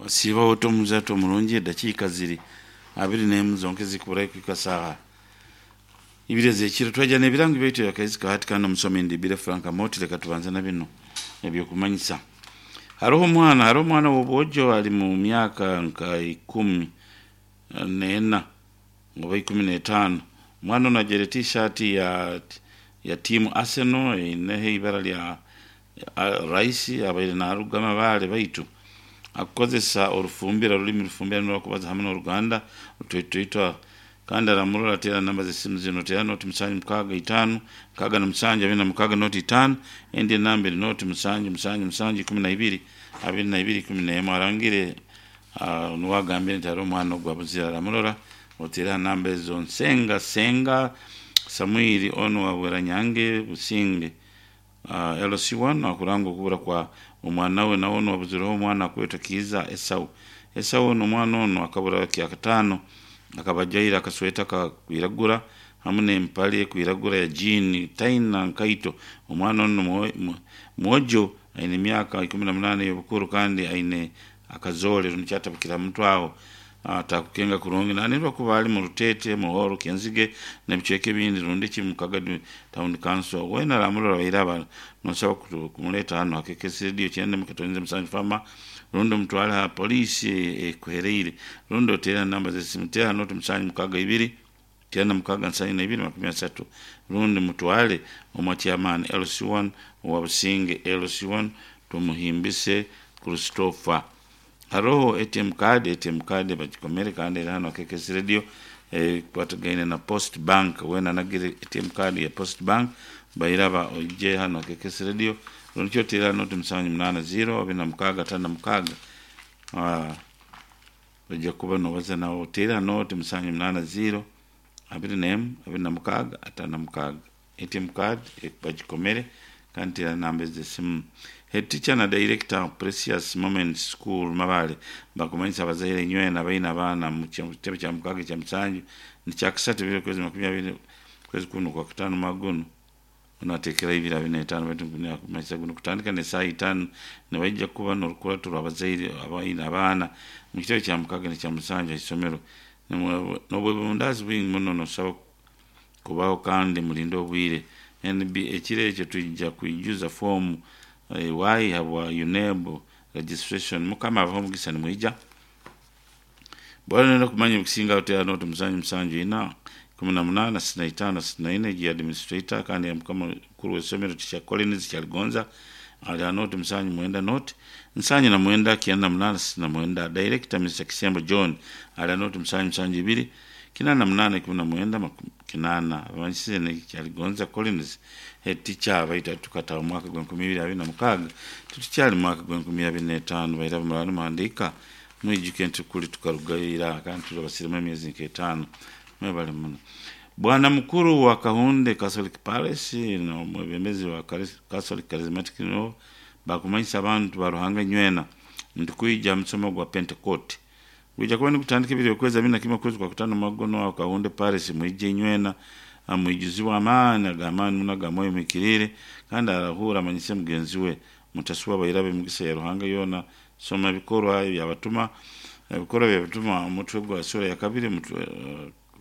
Osiiba ota omuzaate omurungi edakiika ziri abiri n'emu zonka ezikuburayo kuhika saaha ibiri ez'ekiro. Twaija n'ebirango byaitu ebya Kahizi ka hati kandi omusomi ndi Bire Frank Amooti. Leka tubanze na bino eby'okumanyisa. Haroho omwana, haroho omwana w'obwojo ali mu myaka nka ikumi n'ena oba 15. Omwana ono ajwaire tiishaati ya ya tiimu Arsenal eineho eibara lya Rice abaire naruga Mabaale baitu akukozesa orufumbira orulimi rufumbira nirwo arikubaza hamwe n'oruganda rutoitoito kandi aramurora ateera namba z'esimu zinu teera noti musanju mukaaga itaanu 67 26 noti itaanu endi enamba eri noti musanju musanju musanju 12 22 11 arangire nuwe agambire nti hariho omwana ogu abuzire aramurora oteere aha namba ezo Nsenga Senga Samwiri onu wa Bweranyange Businge LC1 akuranga okubura kwa omwana we nawe onu abuzireho omwana akwetwa Kiiza Esau. Esau onu omwana onu akabura kyakataano akaba ajwaire akasweta akakwiragura hamu n'empare ekwiragura ya jiini taina nkaito. Omwana onu mwojo aine emyaka 18 ey'obukuru kandi aine akazoole rundi kyatabukire aha mutwe aho atakukenga kurungi nanirwa kuba ali mu Rutete, Muhoro, Kyenzige n'ebicweka ebindi rundi ki mu Kagadi Town Council. Weena aramurora baire aba nosaba kumuleta hanu ha KKS Radio 97 Fama rundi omutwale aha poliisi ekuhereire rundi oteere aha namba z'esimu teera noti 762 96 72 rundi mutwale omwa chairman LC1 owa Businge LC1 Tumuhimbise Christopher. Haroho ATM card, ATM card bagikomere kandi eri hanu aha KKS Radio ekwatagaine na Post Bank. Weena anagire ATM card ya Post Bank bairaba oije hanu aha KKS Radio rundi ki oteere aha noti 780 26 56 oija kuba nobaza nawe oteere aha noti 780 21 26 56. ATM card bagikomere kandi teera namba ez'esimu. Head teacher na director Precious Moments School Mabaale bakumanyisa abazaire inywena abaine abaana mu kitebe kya mukaaga ekya musanju nikyakisatu ebiro kwezi makumi abiri kwezi kunu okwakutaano omwaka gunu onu ateekeraho ibiri abiri n'etaano baitu nakumanyisa guno kutandika n'esaaha itaano nibaija kuba n'orukurato rw'abazaire abaine abaana mu kitebe kya mukaaga n'ekya musanju aha isomero n'obwebundaazi bwingi muno nosaba kubaho kandi murinde obwire. NB Ekiro ekyo twija kwijuza foomu Y habwa UNEB registration. Mukama abahe omugisa nimwija. Bwaba noyenda kumanya ebikusingaho teera noti 774 18 65 64 egi ya administrator kandi ya mukama mukuru w'eisomero Teacher Collins Kyaligonza ari aha noti 79 noti 79 98 69 Director Mister Kisembo John ari aha noti 772 88 19 80 Abamanyisize ni Kyaligonza Collins Head Teacher baitu hati tukataaha omu mwaka gw'enkumi ibiri abiri na mukaaga titukyali mu mwaka gw'enkumi abiri n'etaano baira muraba nimuhandiika mwijuke nti kuri tukarugayo ira kandi turi abasirimu emyezi nk'etaano mwebale muno Bwana mukuru wa Kahunde Catholic Parish n'omwebembezi wa Catholic Charismatic Renewal bakumanyisa abantu ba Ruhanga inywena nti kwija aha musomo gwa Pentecote Gwija kuba nigutandika ebiro okwezi abiri na kimwe okwezi kwa kutaano omwaka gunu aho Kahunde Parish mwije inywena mwijuzibwe amaani ag'amaani muno aga Mwoyo Muhikiriire kandi arahuura amanyise mugenzi we. Mutasubwa baira ab'emigisa ya Ruhanga yoona. Soma Ebikorwa eby'Abatuma Ebikorwa by'Abatuma omutwe gwa suura ya kabiri omutwe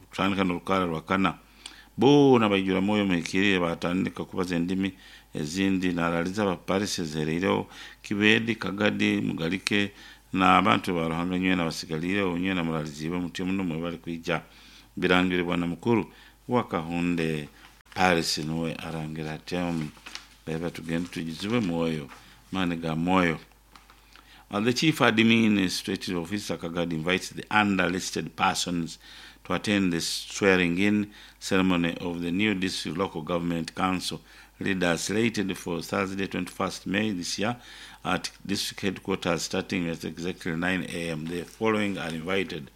kutandika n'orukaara rwa kana. Boona baijura Mwoyo Muhikiriire baatandika kubaza endimi ezindi. Naaraaliza aba Parish ezihereireho, Kibedi, Kagadi, Mugalike, na abantu ba Ruhanga nywena abasigaliireho, nywena muraaliziibwe mutyo muno mwebale kwija. Birangire Bwana Mukuru wa Kahunde Parish nuwe arangira atyo. Baiba tugende twijuzibwe Mwoyo, maani ga Mwoyo. The Chief Administrative Officer Kagadi invites the under-listed persons to attend the swearing-in ceremony of the new District Local Government Council leaders slated for Thursday 21st May this year at district headquarters starting at exactly 9 a.m. The following are invited.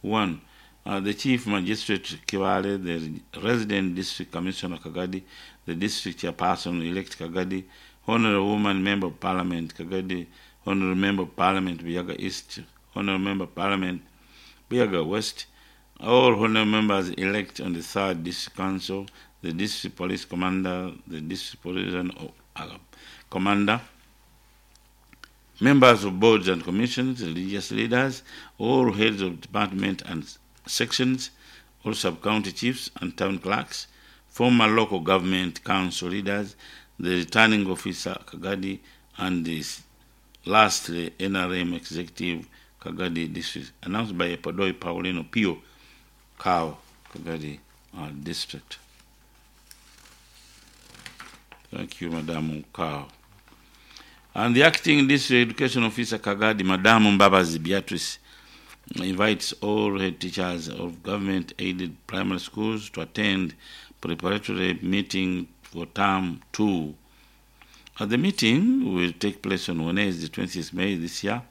1. The Chief Magistrate Kibaale, the Resident District Commissioner Kagadi, the District Chairperson-elect Kagadi, Honorable Woman Member of Parliament Kagadi, Honorable Member of Parliament Buyaga East, Honorable Member of Parliament Buyaga West, all honorable members elect on the 3rd District Council, the District Police Commander, the District Police Commander, Members of boards and commissions, religious leaders, all heads of department and sections, all sub-county chiefs and town clerks, former local government council leaders, the returning officer Kagadi, and the lastly NRM executive Kagadi district, announced by Epodoi Paulino Pio Kao Kagadi district. Thank you, Madam Kao. And the acting district education officer Kagadi, Madam Mbabazi Beatrice, invites all head teachers of government-aided primary schools to attend preparatory meeting for term 2. At the meeting will take place on Wednesday, 20th May this year,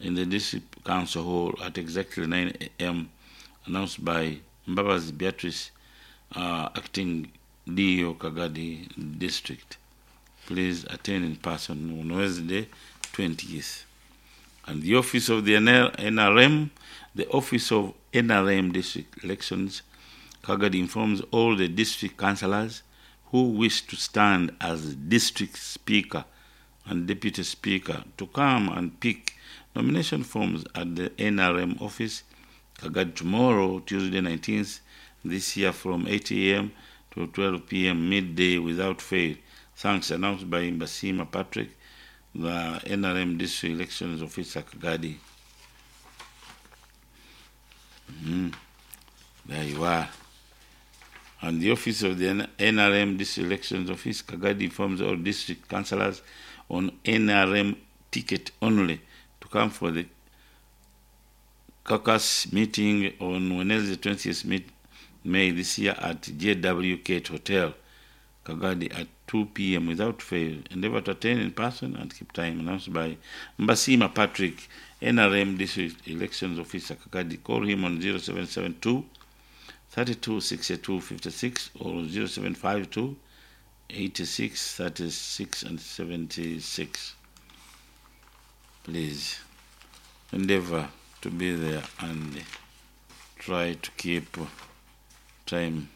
in the district council hall at exactly 9 a.m., announced by Mbabazi Beatrice, acting DO Kagadi district. Please attend in person on Wednesday, 20th. And the office of the NRM, the office of NRM district elections, Kagadi informs all the district councillors who wish to stand as district speaker and deputy speaker to come and pick nomination forms at the NRM office, Kagadi, tomorrow, Tuesday 19th, this year from 8 a.m. to 12 p.m. midday without fail. Thanks, announced by Mbasima Patrick, the NRM district elections officer, Kagadi. There you are. And the office of the NRM district elections office, Kagadi, informs all district councillors on NRM ticket only to come for the caucus meeting on Wednesday, 20th May this year at JW Kate Hotel, Kagadi, at 2 p.m. without fail. Endeavor to attend in person and keep time. Announced by Mbasima Patrick, NRM District Elections Officer, Kagadi. Call him on 0772 32 62 56 or 0752 86 36 and 76. Please endeavor to be there and try to keep time.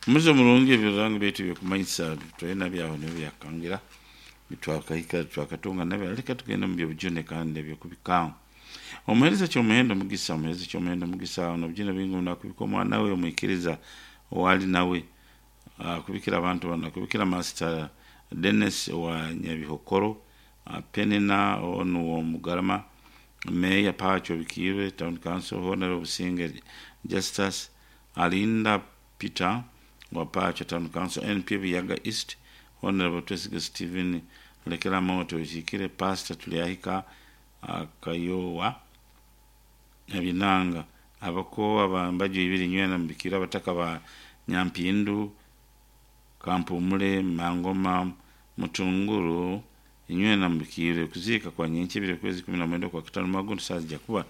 Muze mulungi ebirango byaitu byokumanyisa tulina byaho nibyo byakangira bitwakahika twakatunga nabyo, leka tugende mu byobujune kandi ebyokubikaho. Omuhereza kyomuhendo mugisa, omuhereza kyomuhendo mugisa, nobujune bwingi nakubika omwana we omwikiriza owali nawe, akubikira abantu bano, akubikira Master Dennis wa Nyabihokoro, Penina onu wa Mugarama, Meya Pacho Bikirwe, Town Council, Honorable Businge Justus, Alinda Peter wa Pacho Town Council, NP Buyaga East, Honorable Twesiga Stephen Lekera Moto Ishikire, Pastor Tuliahika Kayowa Nabinanga, abakowa bambaju ibiri nywena mbikira abataka ba Nyampindu, Kampumule, Mangoma, Mutunguru, inywena mbikire kuzika kwa nyenche bire kwezi 19 kwa kitano magundu saa kuba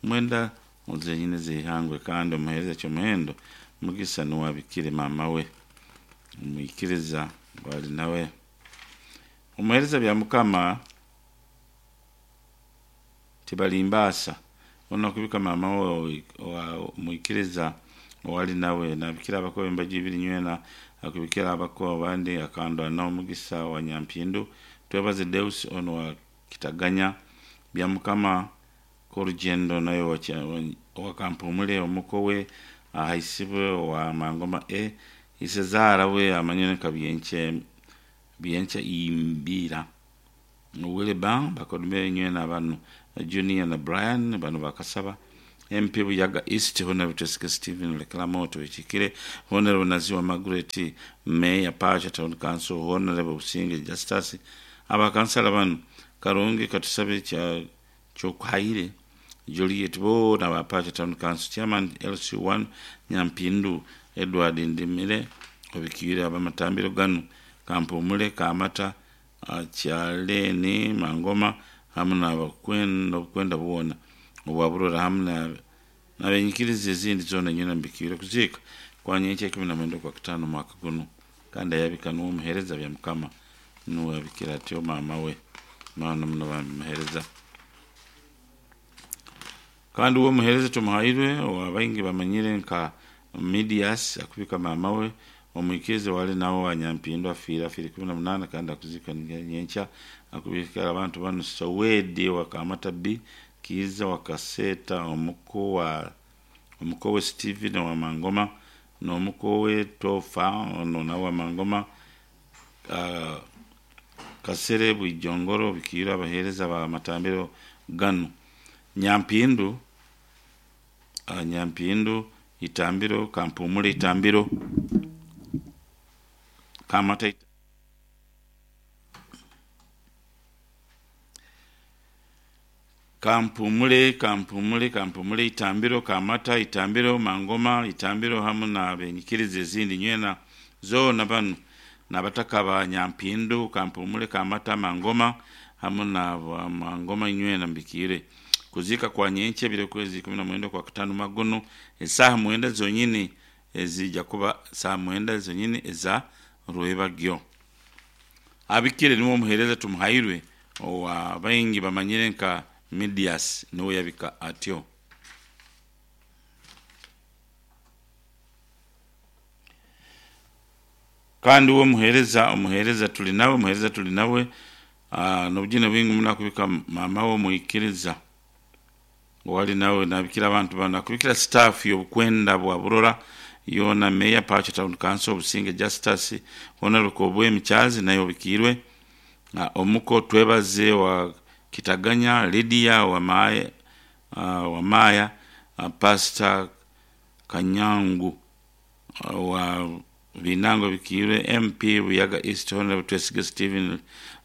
mwenda muzenyine zihangwe. Kandi omuhereza kyomuhendo mugisa nuwabikire mama we omwikiriza wali nawe. Omuhereza bya mukama tibalimbasa ona kubika mama we omwikiriza owali nawe, nabikira abakoba embaju ibiri nywena akubikira abakoba abandi akandwa na omugisa wa Nyampindu. Twebaze Deus ono wa Kitaganya bya mukama korugendo nayo wakampumule omukowe ahaisibwe wa Mangoma e isezara we amanyone kabyenche byenche imbira wile ba bakodume nywena banu Junior na Brian banu bakasaba. MP Buyaga East, Honorable Jessica Stephen Lekelamoto Ichikire, Honorable Naziwa Margaret, Mayor Pacha Town Council, Honorable Businge Justus, abakansala banu Karungi Katusabe cha Chokhaire, Juliet Bo na ba Pacha Town Council, Chairman LC1 Nyampindu, Edward Ndimire, Obikire abamatambiro ganu, Kampumule Kamata, Kyaleni Mangoma, hamwe n'abakwenda obukwenda bwona obwaburora hamwe nabenyikiriza ezindi zona nyina mbikire kuziika kwa nyenkya 19 kwa kitano mwaka guno. Kandi ayabika nuwo muhereza bya mukama nuwe abikira atyo mama we mana muno bamuhereza. Kandi uwo muhereza tumuhairwe wabaingi bamanyire nka Midias akubika mama we Omwikiriza owali nawe owa Nyampindu afiire, afiire 18 kandi akuziikwa nyenkya. Akubikira abantu banu Sowedi owa Kamata B, Kiiza owa Kaseeta, omuko wa omuko we Steven owa Mangoma n'omuko we Tofa ono nawe wa Mangoma. Kasere Bwijongoro bikiirwe abaheereza ba matambiro ganu. Nyampindu Nyampindu Itambiro, Kampumule Itambiro, Kamata Kampumule, Kampumule, Kampumule Itambiro, Kamata Itambiro, Mangoma Itambiro hamu na benyikiriza ezindi nywena zoona banu nabataka ba Nyampindu, Kampumule, Kamata, Mangoma hamu na Mangoma inywena mbikiire. Kuziika kwa nyenkya ebiro kwezi 19 kwa kutaano magono esaaha 9 zonyini ezija kuba saaha 9 zonyini eza rwebagyo. Abikire niwe omuheereza Tumuhairwe owa baingi bamanyire nka Medias niwe yabika atyo. Kandi we omuheereza omuheereza tuli nawe omuheereza tuli nawe n'obugine bwingi muno akubika maama we omwikiriza owali nawe nabikira abantu banu akubikira staff y'obukwenda bwa Burora yoona Meya Pacho Town Council Obusinge Justus Honorable Kobwemi Charles naye obikiirwe omuko Twebaze wa Kitaganya Lydia wa Maya, wa Maya Pastor Kanyangu wa Binango bikiirwe MP Buyaga East Honorable Twesige Stephen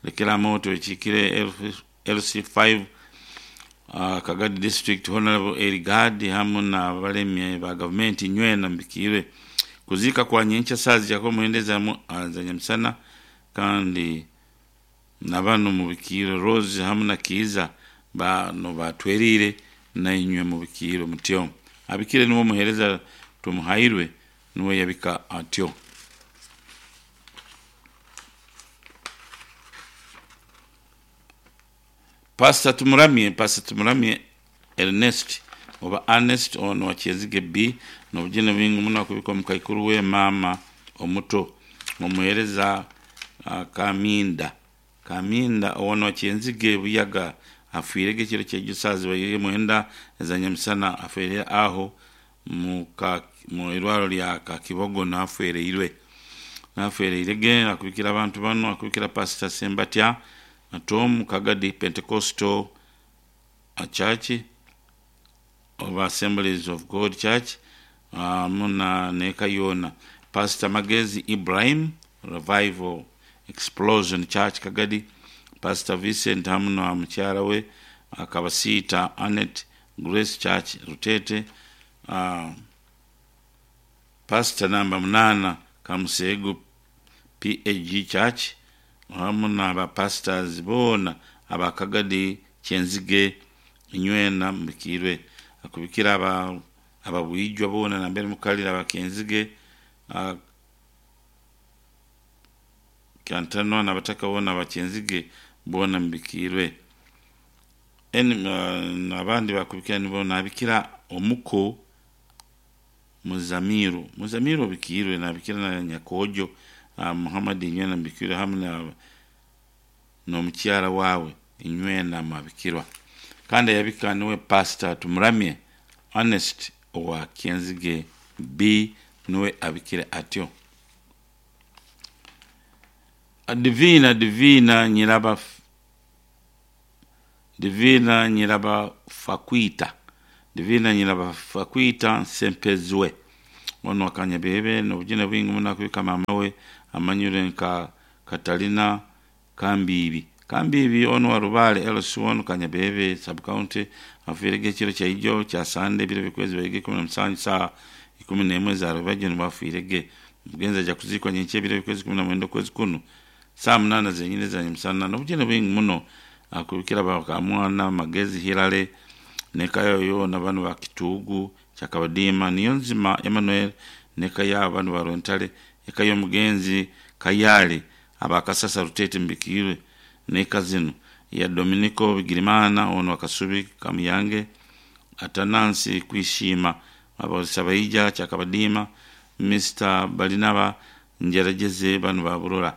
Lekeramoto ekiikire LC5 Kagadi District Honorable Erigadi hamu na abalemi ba gavumenti nywena mbikiirwe. Kuziika kwa nyenkya saaha zijako mwenda za nyamisana kandi na banu mubikiirwe Rose hamu na Kiiza bano batweriire nainywe mubikiirwe mutyo. Abikire niwe omuheereza Tumuhairwe niwe yabika atyo. Pastor Tumuramye, Pastor Tumuramye Ernest oba Ernest ono wa Kyezige B n'obugine bwingi muno akubika omukaikuru we maama omuto omuheereza Kaminda Kaminda ono wa Kyenzige Buyaga afiirege ekiro ky'ejo saaha zibaire mwenda eza nyamisana afiire aho mu irwaro lya Kakibogo nafwereirwe nafwereirege akubikira abantu banu akubikira Pastor Sembatya Tom Kagadi Pentecostal Church oba Assemblies of God Church muna neka yona Pastor Magezi Ibrahim Revival Explosion Church Kagadi Pastor Vincent hamu na mukyala we Akabasiita Annette Grace Church Rutete Pastor namba 8 Kamusegu PAG Church hamu na pastors boona abakagadi Kyenzige inywena mbikiirwe akubikira ababwijwa boona nambere mukalira abakenzige Kyantanwa nabataka boona abakyenzige boona mbikiirwe. Abandi bakubikira nibo nabikira omuko Muzamiru Muzamiru obikiirwe nabikira na Nyakojo Muhammad inywena mbikirwe hamu n'omukyara waawe inywena mwabikirwa. Kandi ayabika niwe Pastor Tumuramye Ernest owa Kyenzige B niwe abikire atyo. Divina Divina Nyiraba Divina Nyiraba Fakwita Divina Nyiraba Fakwita Sempezwe ono akanyabebe n'obugine bwingi muno akubika maama we amanyire nka Katalina Kambiibi Kambiibi ono wa Rubale LC1 Kanyabebe sub county afiirege ekiro kyaijo kya Sande ebiro bikwezi baige 17 saa 11 za rubajjo nibafiirege mugenzi aja kuziikwa nyenkya ebiro bikwezi 19 kwezi kunu saa 8 zenyini za nyamusana n'obugine bwingi muno akubikira bakamwana Magezi Hilale neka yoona banu ba Kituugu Kyakabadiima Niyonzima Emmanuel neka yaabo banu ba Rwentale eka y'omugenzi Kayale abakasasa Rutete mbikiirwe neka zinu ya Dominico Bigirimana ono wa Kasubi Kamuyange Atanansi Kwishima Abasabaija Kyakabadiima Mr Balinaba Ngyerageze banu ba Burora.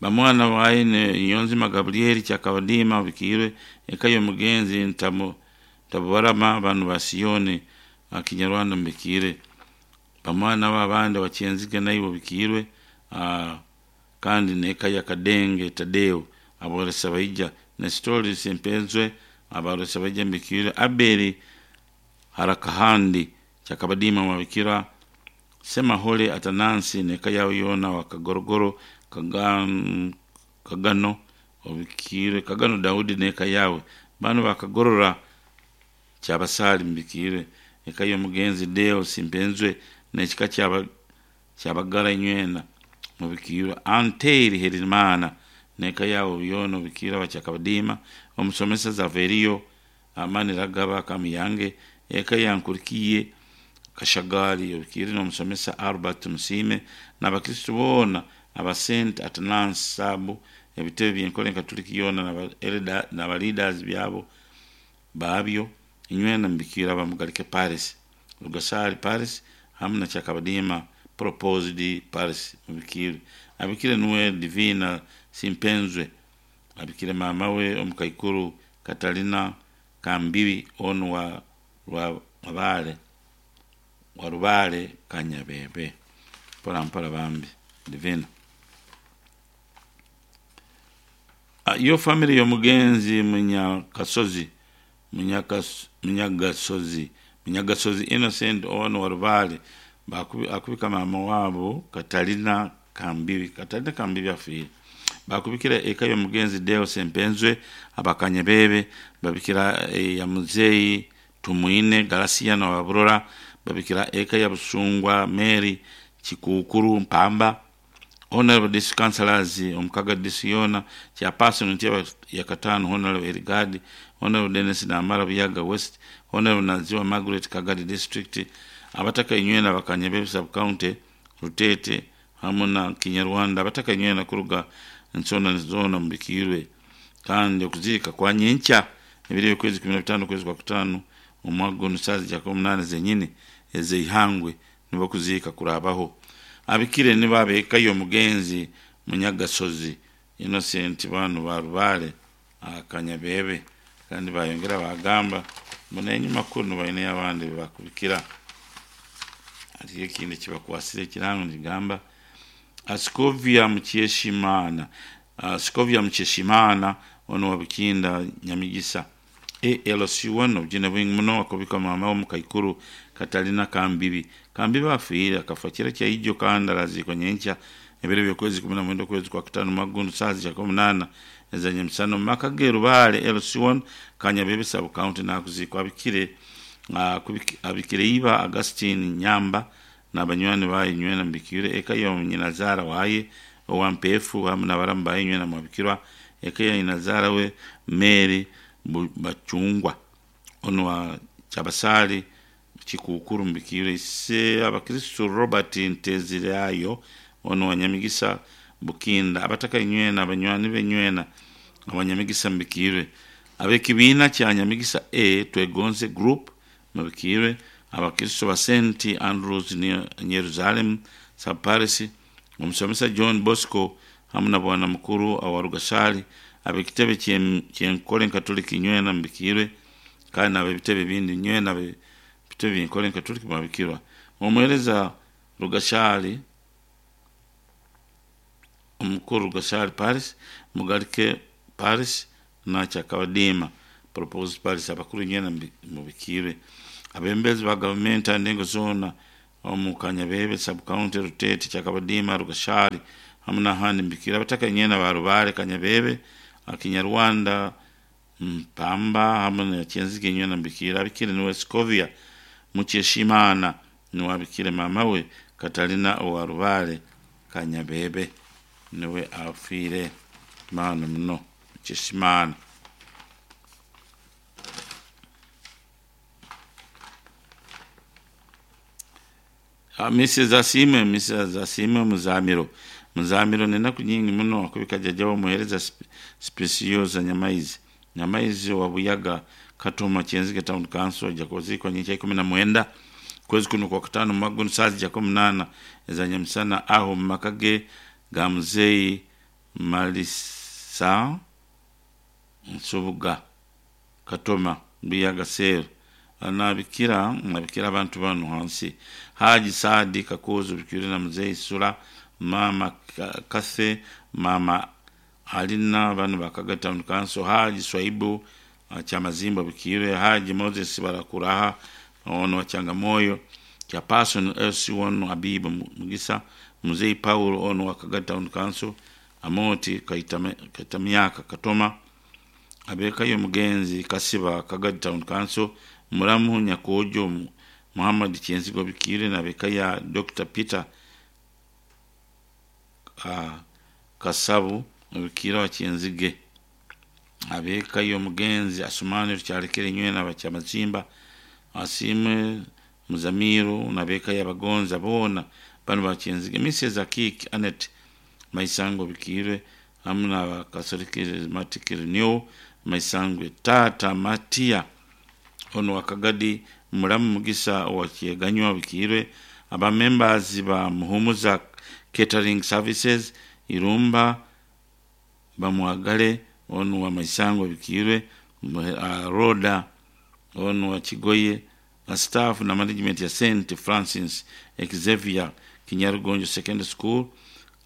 Bamwana baye Niyonzima Gabriel Kyakabadiima obikiirwe eka y'omugenzi Ntabubarama banu ba Siyoni Kinyarwanda mubikiirwe. Bamwana be abandi Bakyenzige naiwe obikiirwe kandi n'eka ya Kadenge Tadeo aboresa baija Nestori Sempenzwe abaresa baija mubikiirwe Abeli Harakahandi Kyakabadiima mwabikira Semahole Atanansi n'eka yawe yoona wa Kagorogoro Kagano obikiirwe Kagano Daudi n'eka yawe banu bakagorora Kyabasaali mubikiirwe eka y'omugenzi Deo Simpenzwe n'ekika kyabagara inywena mubikiirwe Anteiri Herimana n'eka yawe yoona obikiirwe abakyakabadiima omusomesa Zaveriyo Maniragaba Kamiyange eka ya Nkurikiye Kashagaali obikiirwe n'omusomesa Albert Musiime n'abakristo boona aba St Atanansi Saabu ebitebe by'enkore Katoliki yoona n'aba leaders byabo baabyo inywena mubikiirwe abamugarike Paris Rugasaali Paris hamu na Kyakabadiima Proposed Paris mubikiirwe abikire nuwe Divina Simpenzwe abikire maama we omukaikuru Katalina Kambibi onu wa Rubale Kanyabebe mpora mpora bambi Divina. Yo family y'omugenzi Munyagasozi Innocent ono wa Rubale akubika maama waabo Katalina Kambibi. Katalina Kambibi afiire. Bakubikira eka y'omugenzi Deo Sempenzwe abakanyabebe babikira ya muzeeyi Tumwine Garasiano wa Burora babikira eka ya Busungwa Mary Kikukuru Mpamba Honorable District Councillors omukaga district yoona Chairperson ntebe ya kataano Honorable Erigadi Honorable Dennis Namara Buyaga West Honorable Naziwa Margaret Kagadi District abataka inywena bakanyabebe sub county Rutete hamu na Kinyarwanda abataka inywena kuruga ensonda zoona mubikiirwe kandi okuziika kwa nyenkya ebiro eby'okwezi 15 okwezi kwa kutaano omwaka gunu saaha za 18 zenyini ez'eihangwe nibwo okuziika kuraabaho. Abikire nibo ab'eka y'omugenzi Munyagasozi Innocent banu ba Rubale Kanyabebe kandi bayongera bagamba ngu n'enyima kunu baineyo abandi bebakubikira. Hariyo ekindi ekibakwasire ekirango nikigamba Scovia Mukyeshimana onu wa Bukinda Nyamigisa ALC1 obujune bwingi muno akubika maama we omukaikuru Katalina Kambibi. Kambibi afiire akafa kiro kya ijo kandi araziikwa nyenkya ebiro by'okwezi 19 okwezi kwa kutaano omwaka guno saaha za 8 ez'enyemisana omu maka ge Rubale LC1 Kanyabebe sub county nakuziikwa abikire iba Augustine Nyamba n'abanywani baye inywena mubikiirwe eka ya nyinazaara waye owa Mpeefu hamu n'abaramu baye inywena mwabikirwa eka ya nyinazaara we Mary Bacungwa onu wa Kyabasaali Kikukuru mubikiirwe ise abakristo Robert Nteziryayo onu wa Nyamigisa Bukinda abataka inywena abanywani be inywena abanyamigisa mubikiirwe ab'ekibiina kya Nyamigisa A Twegonze Group mubikiirwe abakristo ba St Andrews Yerusalemu sub Paris omusomesa John Bosco hamu na bwana mukuru owa Rugasaali ab'ekitebe ky'enkore Katoliki inywena mubikiirwe kandi n'ab'ebitebe ebindi inywena ebitebe by'enkore Katoliki mwabikirwa. Omuheereza Rugasaali omukuru Rugasaali Paris Mugarike Paris na Kyakabadiima Proposed Paris abakuru inywena mubikiirwe. Abebembezi ba gavumenti aha ndengo zoona omu Kanyabebe sub county Rutete Kyakabadiima Rugashaali hamu n'ahandi mubikiirwe. Abataka inywena ba Rubale Kanyabebe Kinyarwanda Mpamba hamu na Kyenzige inywena mubikiirwe. Abikire niwe Scovia Mukyeshimana niwe abikire maama we Katalina owa Rubale Kanyabebe niwe afiire maani muno Mukyeshimana. Mrs. Asiimwe Muzamiro. Muzamiro n'enaku nyingi muno akubika jjajja we omuheereza Specioza Nyamaizi. Nyamaizi owa Buyaga Katoma Kyenzige Town Council aja kuziikwa nyenkya 19 Kwezi kunu Okwakutaano omumwaka gunu saaha zija k'omunaana eza nyamusana aho omu maka ge ga Muzeeyi Malisa Nsubuga Katoma Buyaga Cell. Nabikira nabikira abantu banu hansi Haji Saadi Kakooza Obikiire na Muzeeyi Sula, Maama Kathy, Maama Alina banu ba Kaga Town Council, Haji Swaibu Kyamazimba Obikiire, Haji Moses Barakuraha ono wa Kyangamoyo, Chairperson LC1 Habibu Mugisa, Muzeeyi Paul ono wa Kaga Town Council, Amoti Kaitamyaka Katoma, ab'eka y'omugenzi Kasiba Kagadi Town Council, Muramu Nyakoojo Muhammad Kyenzigo Obikiire n'ab'eka ya Dokita Peter Kasabu Obikiire owa Kyenzige, ab'eka y'omugenzi Asumani Rukyalekere Nywena aba Kyamazimba, Asiimwe Muzamiru n'ab'eka y'Abagonza boona banu ba Kyenzige, Mrs Akiiki Annet Maisango Obikiire hamu na Catholic Charismatic Renewal Maisangwe, Taata Matia ono wa Kagadi, Muramu Mugisa owa Kyeganywa Obikiire, aba members ba Muhumuza Catering Services Irumba Bamwagale ono wa Maisangwe Obikiire, Rhoda ono wa Kigoye, staff na management ya St Francis Xavier Kinyarugonjo Secondary School,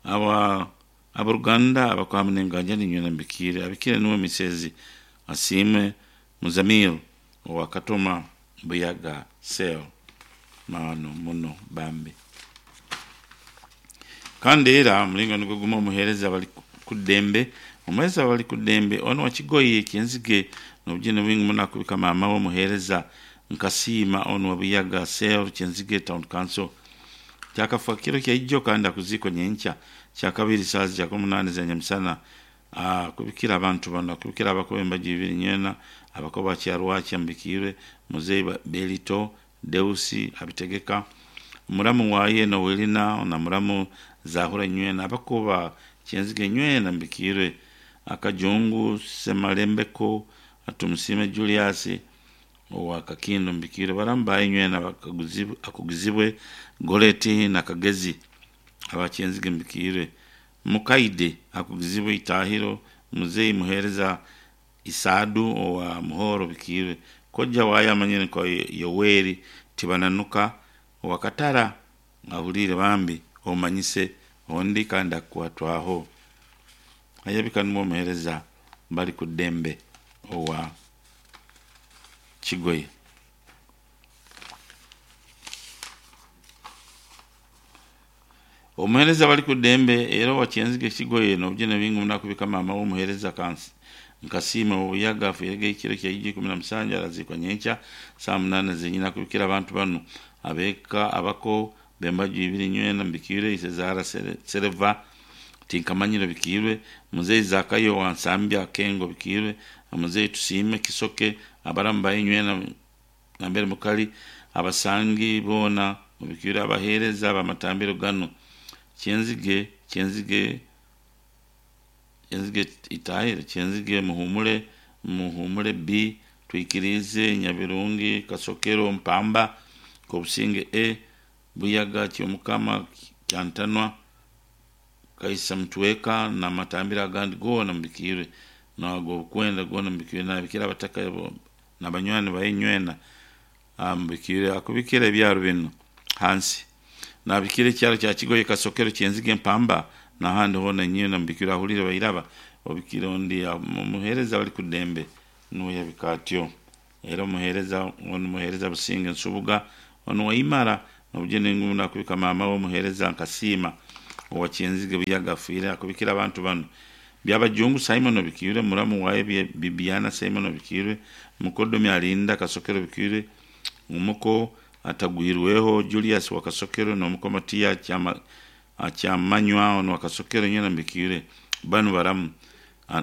aba aboruganda abakwame nenganja ninywe nambikire abikire niwe misezi Asiimwe Muzamiru owa Katoma Buyaga Cell mano muno bambi. Kandi era omulingo nigwo gumwe omuheereza bali ku ddembe omuheereza bali ku ddembe ono wa Kigoye Kyenzige n'obugyene bwingi muno akubika maama we omuheereza Nkasiima ono wa Buyaga Cell Kyenzige Town Council kyakafa kiro kyaijo kandi akuziikwa nyenkya kyakabiri saaha zija k'omunaana eza nyamusana akubikira abantu banu akubikira abakuba embaju ibiri nywena abakuba Kyarwakya Mbikiire Muzeeyi Belito Deusi Abitegeka muramu waye Noelina na muramu Zahura nywena abakuba Kyenzige nywena Mbikiire Akajungu Semalembeko Atumusiime Julius owa Kakindo Mbikiire baramu baye nywena akugizibwe Goreti na Kagezi aba Kyenzige Mbikiire Mukaide akugizibwe Itahiro Muzeeyi Muheereza Isaadu owa Muhoro Bikiire Kojja waye amanyire nka Yoweri Tibananuka owa Katara ahuliire bambi omanyise ondi kandi akukwatwaho ayabika nimwo omuheereza bali ku ddembe owa Kigoye. Omuheereza bali ku ddembe era owa Kyenzige Kigoye n'obugyene bwingi muno akubika maama we omuheereza Nkasiima Obuyaga afiirege ekiro kyaijo 17 araziikwa nyenkya saaha munaana zenyini akubikira abantu banu ab'eka abako b'embaju ibiri nywena Mbikiire Ise Zahara Sereva Tinkamanyire Bikiirwe Muzeeyi Zakayo wa Nsambya Kengo Bikiirwe Muzeeyi Tusiime Kisoke abaramu baye nywena nambere mukali abasangi boona Mubikiire abaheereza b'amatambiro ganu Kyenzige Kyenzige Kyenzige Itahiro Kyenzige Muhumure Muhumure B Twikirize Nyabirungi Kasokero Mpamba Kobusinge A Buyaga Kyomukama Kyantanwa Kaisa Mutweka n'amatambiro agandi goona Mbikiire n'ag'obukwenda goona Mbikiire nabikira abataka n'abanywani baye nywena Mbikiire akubikira ebyaro binu hansi nabikira ekyaro kya Kigoye Kasokero Kyenzige Mpamba n'ahandi hoona nywena Mbikiire ahuliire bairaba obikire ondi omuheereza bali ku ddembe nuwe yabika atyo era omuheereza onu muheereza Businge Nsubuga onu Waimara n'obugyene ngumu nakubika maama we omuheereza Nkasiima owa Kyenzige Buyaga afiire akubikira abantu banu Byabajungu Simon Obikiire muramu waye Bibiana Simon Obikiire Mukodomi Alinda Kasokero Obikiire omuko atagwirweho Julius wa Kasokero n'omuko Matiya Kyamanywa ono wa Kasokero nywena Mbikiire banu baramu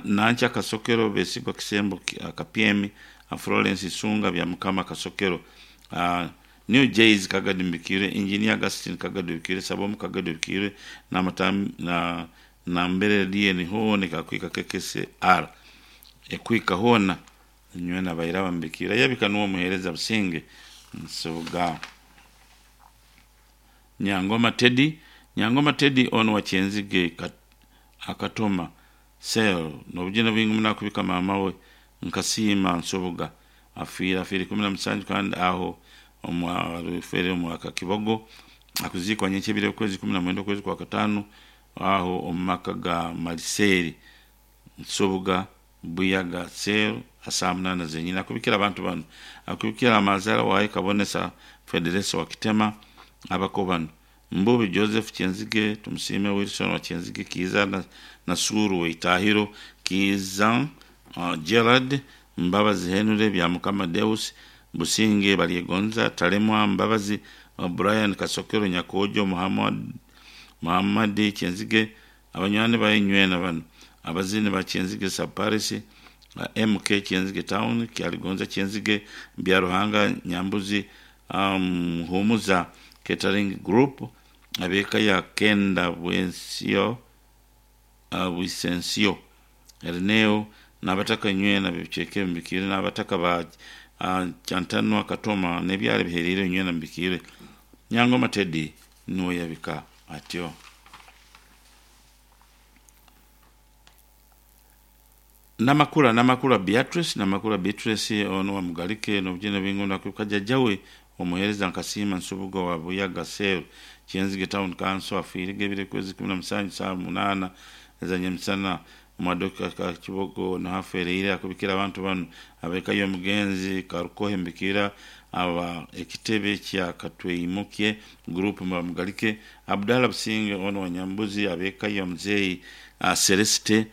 Nankya Kasokero Besigwa Kisembo Kapyemi Florence Isunga Byamukama Kasokero New Jays Kagadi Mbikiire Engineer Augustine Kagadi Obikiire Sabomu Kagadi Obikiire na nambere DN hoona ekakwika KKCR ekwika hoona nywena bairaba Mbikiire ayabika nuwe omuheereza Businge Nsubuga. Nyangoma Teddy Nyangoma Teddy ono wa Kyenzige Akatoma Cell n'obugyene bwingi muno akubika maama we Nkasiima Nsubuga afiire afiire 17 kandi aho omwafeere omwaka Kibogo akuziikwa nyenkya ebiro okwezi 19 okwezi kwa kataano aho omu maka ga Maliseeri Nsubuga Buyaga Cell asaa munaana zenyini akubikira abantu banu akubikira amazaara waaye Kabonesa Federesa wa Kitema abako banu Mbubi Joseph Kyenzige Tumusiime Wilson wa Kyenzige Kiiza na Nasuru Weitahiro Kiiza Gerard Mbabazi Henry Byamukama Deus Businge Baryegonza Talemwa Mbabazi Brian Kasokero Nyakojo Muhammad Muhammad Kyenzige abanywani baye nywena banu abazini ba Kyenzige Saparisi MK Kyenzige Town Kyaligonza Kyenzige Byaruhanga Nyambuzi Humuza Catering Group abeka ya Kenda Bwensio Bwisensio Erneo n'abataka nywena bibiceke mbikire n'abataka ba Kyantanwa Katoma n'ebyalo biherire nywena mbikire Nyangoma Teddy niwe yabika atyo. Namakula Namakula Beatrice Namakula Beatrice ono wa Mugalike n'obugyene bwingi nakuka jjajjawe omuheereza Nkasiima Nsubuga wa Buyaga Cell Kyenzige Town Council afiire ebiro kwezi 17 saa 8 ezanyemisana omu ka Kibogo nahafeereire akubikira abantu banu abeka y'omugenzi Karukohe Mbikira aba ekitebe kya Katweimukye group Mugalike Abdalla Businge ono wa Nyambuzi abeka y'omuzeeyi Celeste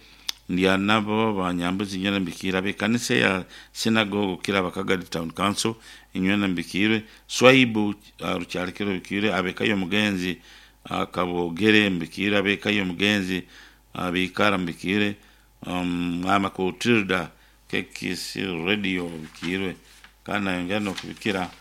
ndyanabo banyambuzi nywena mbikira abekanisa ya synagogue kira bakagadi town council inywena mbikire swaibu rukyalekero bikire abekayo omugenzi kabogere mbikire abekayo omugenzi bikara mbikire mama kutilda kekisi radio bikirwe kandi nayongera nokubikira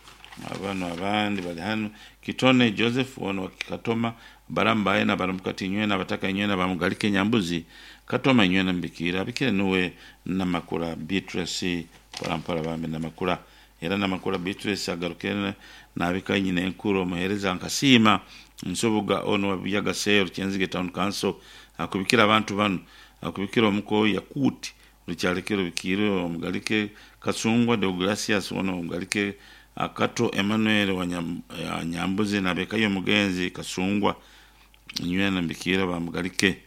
abano abandi bali hano Kitone Joseph ono wakikatoma barambaye na baramukati nywena bataka nywena bamugalike Nyambuzi Katoma nywena mbikira abikire nuwe Namakula Beatrice parampara bambe Namakula era Namakula Beatrice agarukire nabika nyina enkuru omuhereza Nkasiima Nsubuga ono wa Sero Kyenzige Town Council akubikira abantu bano akubikira omuko Yakuti rukyalekero bikire omugalike Kasungwa Deogracias ono omugalike Akato Emmanuel wa Nyambuzi nabekayo omugenzi Kasungwa nywena mbikira bamugalike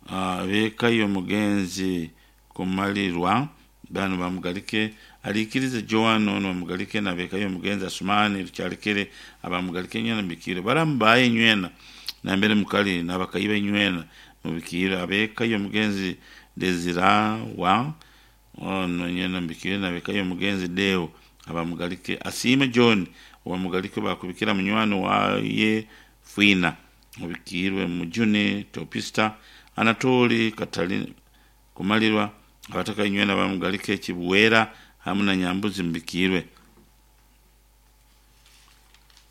abekayo omugenzi kumalirwa bano bamugalike alikirize Joan ono bamugalike nabekayo omugenzi Asumani rukyalekere abamugalike nywena mbikire barambaye nywena nambere mukali nabakayiba nywena mubikire abekayo omugenzi Desira wa ono nywena mbikire nabekayo omugenzi Deo abamugalike Asiime John obamugalike bakubikira munywani waye Fwina mubikirwe Mujuni Topista Anatoli Katalina kumalirwa abataka nywena bamugalike Kibuwera hamu na Nyambuzi mbikirwe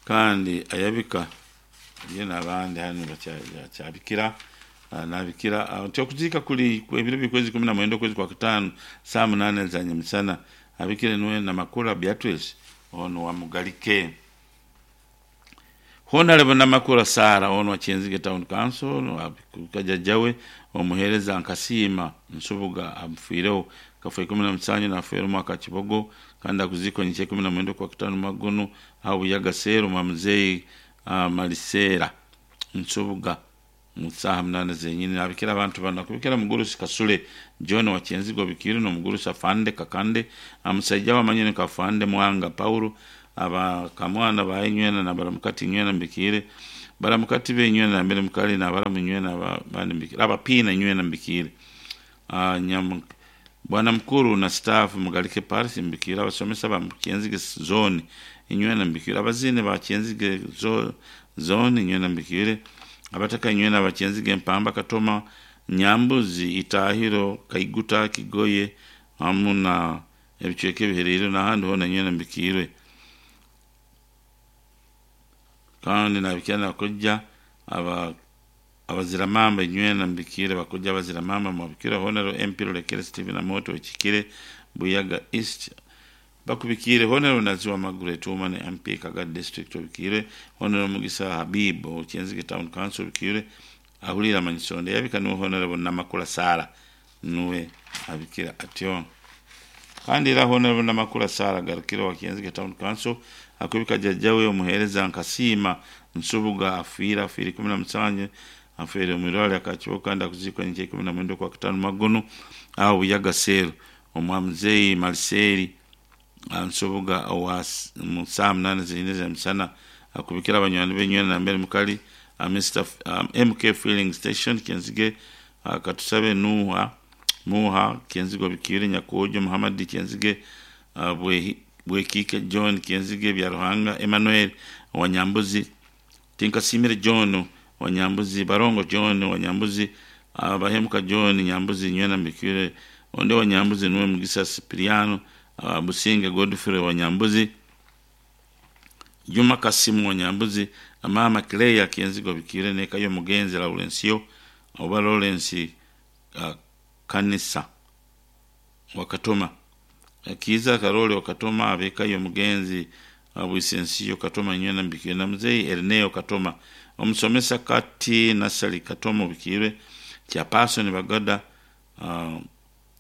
kandi ayabika ye n'abandi hano bakyabikira nabikira nti okuziika kuli ebiro bikwezi 19 okwezi kwa kataano saa 8 za nyemisana abikire niwe Namakula Beatrice ono wa Mugalike Honorable Namakula Sara ono wa Kyenzige Town Council jjajjawe omuheereza Nkasiima Nsubuga amufiireho kafa 17 nafeera omwaka Kibogo kandi akuziikwa nyenkya 19 kwa kataano magono aho Buyaga Seero mwa muzeeyi Maliseera Nsubuga mu saaha 8 zenyini nabikira abantu bano akubikira mugurusi Kasule John wa Kyenzige obikire n'omugurusi Afande Kakande amusajja wamanyine Kafande Mwanga Paulo aba kamwana baye nywena na baramukati nywena mbikire baramukati be nywena na mbere mukali na baramu nywena bandi mbikire abapina nywena mbikire bwana mkuru na staff mugalike Paris mbikire abasomesa ba Kyenzige zone inywena mbikire abazine ba Kyenzige zone inywena mbikire abataka nywena ba Kyenzige Mpamba Katoma Nyambuzi Itahiro Kaiguta Kigoye hamu na ebicweka ebiherire n'ahandi hona nywena mbikire kandi nabikira nakojja aba abaziramamba nywena mbikire bakojja abaziramamba mubikire honero MP Rulekere Steven Amoto Ekikire Buyaga East Bakubikiire Honorable Naziwa Margaret Woman MP Kagadi District obikiire, Honorable Mugisa Habib owa Kyenzige Town Council obikiire, ahuliire amanyiso onde yabika niwe Honorable Namakula Sarah nuwe abikira atyo. Kandi era Honorable Namakula Sarah Garukire owa Kyenzige Town Council akubika jjajja we omuheereza Nkasiima Nsubuga afiire 17 afiire omu irwariro akakibo kandi akuziikwa nyenkya 19 okwakutaano Magono aho Buyaga Cell omwa muzeeyi Mariseli Nsubuga owa mu saaha 8 zenyine ez'emisana akubikira abanywani be nywena nambere mukali Mr. MK Filling Station Kyenzige Katusabe Nuha Muha Kyenzige Obikiire Nyakwojo Muhammad Kyenzige Bwekiike John Kyenzige Byaruhanga Emmanuel Wanyambuzi Tinkasiimire John Wanyambuzi Barongo John Wanyambuzi Bahemuka John Nyambuzi nywena Mbikiire onde Wanyambuzi nuwe Mugisa Sipiriano Businge Godfrey Wanyambuzi Juma Kasimu Wanyambuzi Mama Claire Kyenzige Obikiire n'eka y'omugenzi Laurencio oba Lawrence Kanisa Wakatoma Kiiza Karoli Wakatoma ab'eka y'omugenzi Bwisensiyo Katoma nywena Mbikiire na muzeeyi Erneo Katoma omusomesa Kati Nasali Katoma Obikiire Chairperson Bagada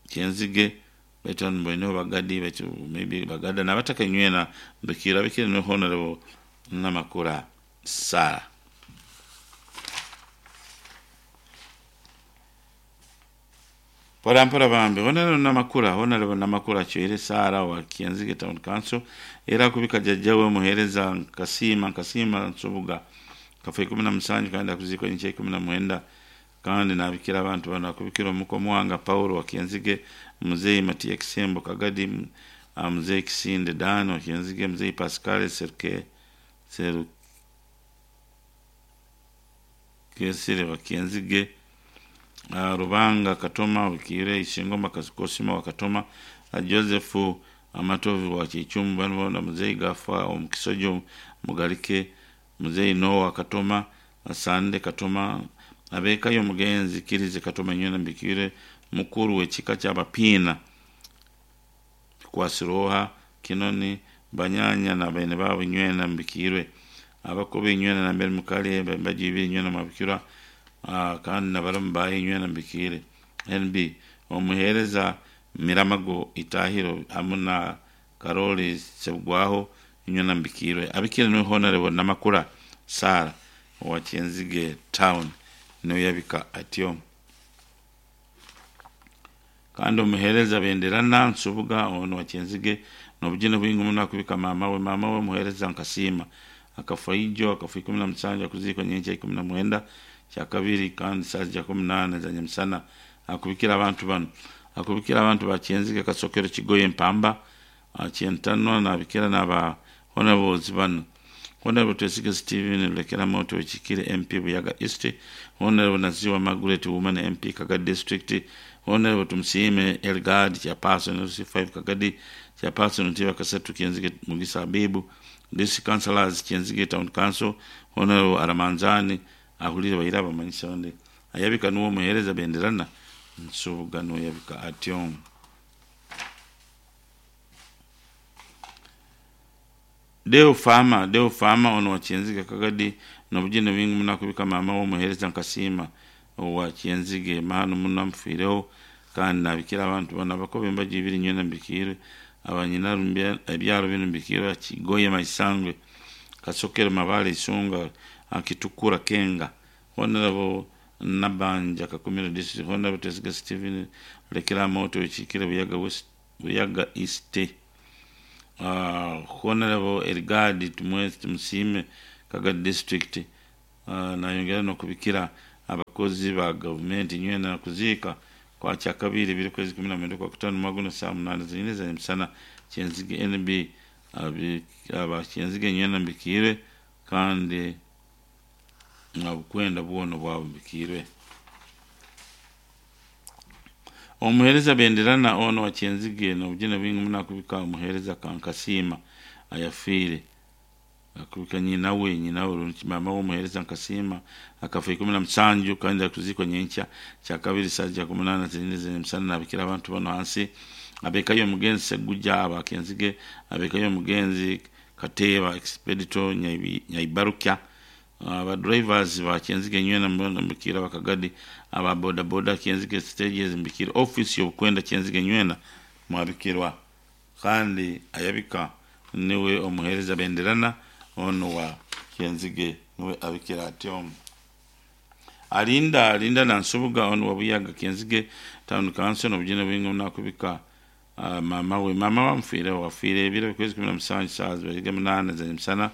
Kyenzige baitu hanu mboineho Bagadi baitu maybe Bagada n'abataka nywena Mbikiire abikire niwe Honorable Namakula Sarah. Mpora mpora bambi Honorable Namakula Honorable Namakula Chwere Sarah wa Kyenzige Town Council era akubika jjajja we omuheereza Nkasiima Nkasiima Nsubuga kafa 17 kandi akuziikwa nyenkya 19 kandi nabikira abantu bano akubikira omuko Muwanga Paulo wa Kyenzige muzeeyi Matiya Kisembo Kagadi muzeeyi Kisinde Dan wa Kyenzige muzeeyi Pascal Seruke Serukesire wa Kyenzige Rubanga Katoma Obikiire Isingoma Kosima wa Katoma Joseph Amatovu wa Kichumbu bano bona muzeeyi Gafa omukisojo Mugalike muzeeyi Noah Katoma Sande Katoma ab'eka y'omugenzi Kirize Katoma nywena Mbikiire mukuru w'ekika ky'Abapiina Kwasiroha Kinoni Banyanya na baine baabo nywena Mbikiirwe abakubi nywena nambere mukali bajiibire nywena mwabikirwa kandi nabaramu baye nywena Mbikiire NB omuheereza Miramago Itahiro hamu na Karoli Sebugwaho nywena Mbikiirwe abikire niwe Honorable Namakula Sarah owa Kyenzige Town niwe yabika atyo. Kandi omuheereza Benderana Nsubuga ono wa Kyenzige n'obugine bwingi muno akubika maama we omuheereza Nkasiima akafa ijo akafa 17 akuziikwa nyenkya 19 kyakabiri kandi saaha ja 18 za nyamusana akubikira abantu bano akubikira abantu ba Kyenzige Kasokero Kigoye Mpamba Kyentanwa nabikira n'aba honorables bano Honorable Twesige Steven Lulekera Moto Wekikire MP Buyaga East Honorable Naziwa Margaret Woman MP Kagadi District Honorable Tumusiime Elgad Chairperson LC5 Kagadi Chairperson Ntiba Kasatu Kyenzige Mugisa Habibu District Councillors Kyenzige Town Council Honorable Aramanzani ahulire baira abamanyisa onde ayabika nuwo omuheereza Benderana Nsubuga nuwe yabika atyo. Deo Fama ono wa Kyenzige Kagadi n'obugine bwingi muno akubika maama we omuheereza Nkasiima owa Kyenzige mahano muno amufiireho kandi nabikira abantu bano abakobe embaga ibiri nywena Mbikiire abanyina ebyaro binu Mbikiire Kigoye Maisangwe Kasokero Mabale Isunga Kitukura Kenga Honorable Nabanja Kakumiro District Honorable Twesige Steven Lekera Moto Wekikire Buyaga West Buyaga East Honorable Elgadi Tumusiime Kagadi District nayongera n'okubikira abakozi ba gavumenti nywena kuziika kwa kyakabiri biri kwezi 19 kwa kutano maguno saa 8 zenyine za misana Kyenzige NB aba Kyenzige nywena Mbikiire kandi obukwenda bwona bwabo Mbikiirwe. Omuheereza Benderana ono wa Kyenzige n'obugine bwingi muno akubika omuheereza Kankasiima ayafiire akubika nyina we maama we omuheereza Nkasiima akafa 17 kandi akuziikwa nyenkya kyakabiri saaha ja 18 zenyine za misana nabikira abantu bano hansi Ab'eka y'omugenzi Ssegujja aba Kyenzige, ab'eka y'omugenzi Kateeba Expedito Nyaibarukya, aba drivers ba Kyenzige nywena mwena mbikiire abakagadi, aba boda boda Kyenzige stages mbikiire, office y'obukwenda Kyenzige nywena mwabikirwa kandi ayabika niwe omuhereza Benderana ono wa Kyenzige niwe abikira atyo. Alinda Alinda Nansubuga ono wa Buyaga Kyenzige Town Council nobujune bwingi muno akubika maama we. Maama we amufiireho afiire ebiro by'okwezi 17 saaha zibaire 8 ez'emisana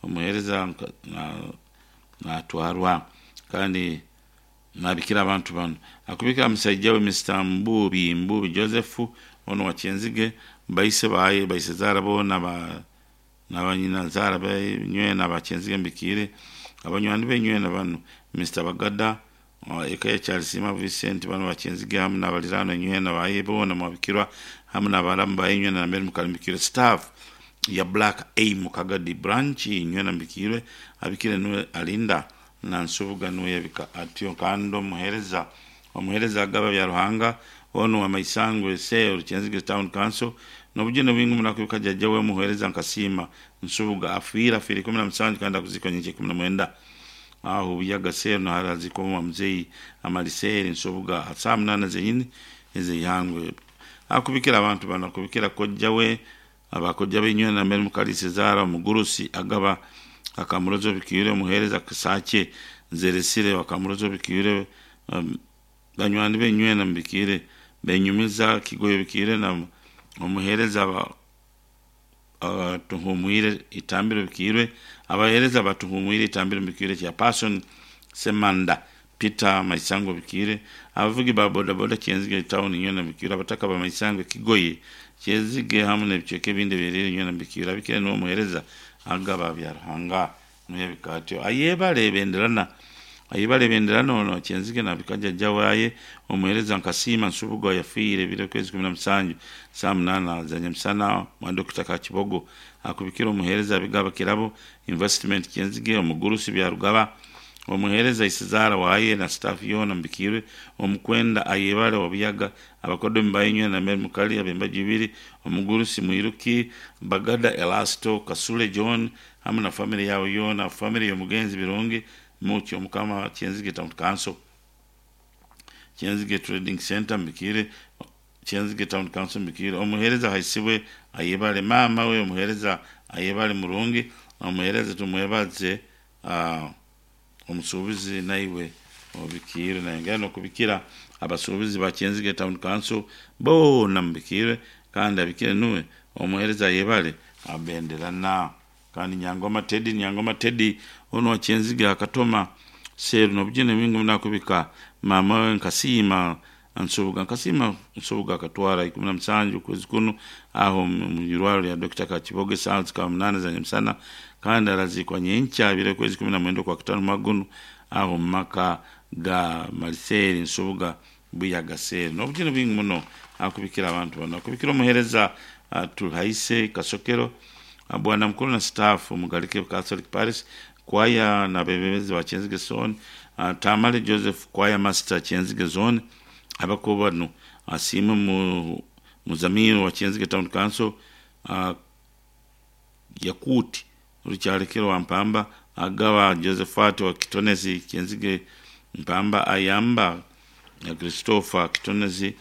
omuheereza natwarwa kandi nabikira abantu bano. Akubikira musaija we Mister Mbuubi Mbuubi Joseph ono wa Kyenzige, baise baye, baisezaara boona ba na banyinazaara be nywena aba Kyenzige mbikiire, abanywani be nywena banu, Mister Bagada, eka ya Kyarisiima Vincent banu ba Kyenzige hamu n'abaliraanwa nywena baye boona mwabikirwa hamu n'abaramu baye nywena nambere mukali mbikiirwe, staff ya Black Aim Kagadi Branch nywena mbikiirwe, abikire nuwe Alinda Nansubuga nuwe yabika atyo kandi omuheereza omuheereza agaba Byaruhanga onu wa Maisangwe Cell Kyenzige Town Council n'obujune bwingi muno akubika jajja we omuheereza Nkasiima Nsubuga afiire afiire 17 kandi akuziikwa nyenkya 19 aho Buyaga Cell naho araziikwa owa muzeeyi Amaliseeri Nsubuga aha saaha munaana zenyini ez'eihangwe. Akubikira abantu banu akubikira kojja we Abakojja b'enywena nambere Mukaliisa Zaara omugurusi agaba Akamurozi Obikiire omuheereza Kisakye Nzeresire Wakamurozi Obikiire banywani b'enywena Mubikiire Benyumiza Kigoye Obikiire na omuheereza Batuhumwire Itambiro Obikiirwe abaheereza Batuhumwire Itambiro Mubikiire Chairperson Ssemanda Peter Maisango Bikiire, abavugi ba bodaboda Kyenzige Town nywena Bikiire, abataka ba Maisango Kigoye, Kyezige hamu n'ebicweka ebindi ebihererire nywena Bikiire, Abikire niwe omuhereza agaba Byaruhanga nuwe yabika atyo. Ayebare Benderana Ayebare Benderana ono Kyenzige nabika jajja waye omuhereza Nkasiima Nsubuga oyafiire ebiro kwezi 17 saaha munaana za nyamusana mwa Dokita Kakibogo akubikire omuhereza Abigaba Kirabo Investment Kyenzige omugurusi Byarugaba Omuheereza Isizaara waaye na sitaafu yoona mubikiirwe, Omukwenda Ayebare wa Buyaga, abakodomi ba Inywena na Mary Mukali ab'embaju ibiri, Omugurusi Mwiruki, Bagada Elasto, Kasule John hamu na famire yaabo yoona, famire y'omugenzi Birungi Muki Omukama Kyenzige Town Council, Kyenzige Trading Centre mubikiirwe, Kyenzige Town Council mubikiirwe, Omuheereza Haisibwe Ayebare, maama we Omuheereza Ayebare Murungi, Omuheereza Tumwebaze, Omusuubuzi naiwe obikiirwe nayongera nokubikira abasuubuzi ba Kyenzige Town Council boona mubikiirwe kandi abikire nuwe omuhereza ayebare abenderana kandi Nyangoma Teddy Nyangoma Teddy onu wa Kyenzige Akatoma Cell nobujune bwingi muno akubika maama we Nkasiima Nsubuga Nkasiima Nsubuga akatwara 17 okwezi kunu aho omu irwariro rya Dokita Kakiboga esaaha zikaba munaana za nyamusana kandi araziikwa nyenkya ebiro okwezi 19 Okwakutaano omwaka gunu aho omu maka ga Maliseeri Nsubuga Buyaga Cell. N'obujune bwingi muno akubikira abantu banu. Akubikira omuheereza Tuhaise Kasokero, Bwana Mukuru na sitaafu Mugalike Catholic Parish, kwaya n'abeebembezi ba Kyenzige Zone, Tamale Joseph Choir Master Kyenzige Zone, abakugu banu Asiimwe Muzamiru wa Kyenzige Town Council, Yakuti Rukyalekero wa Mpamba, Agaba Josephat wa Kitonezi Kyenzige Mpamba, Ayamba Christopher Kitonezi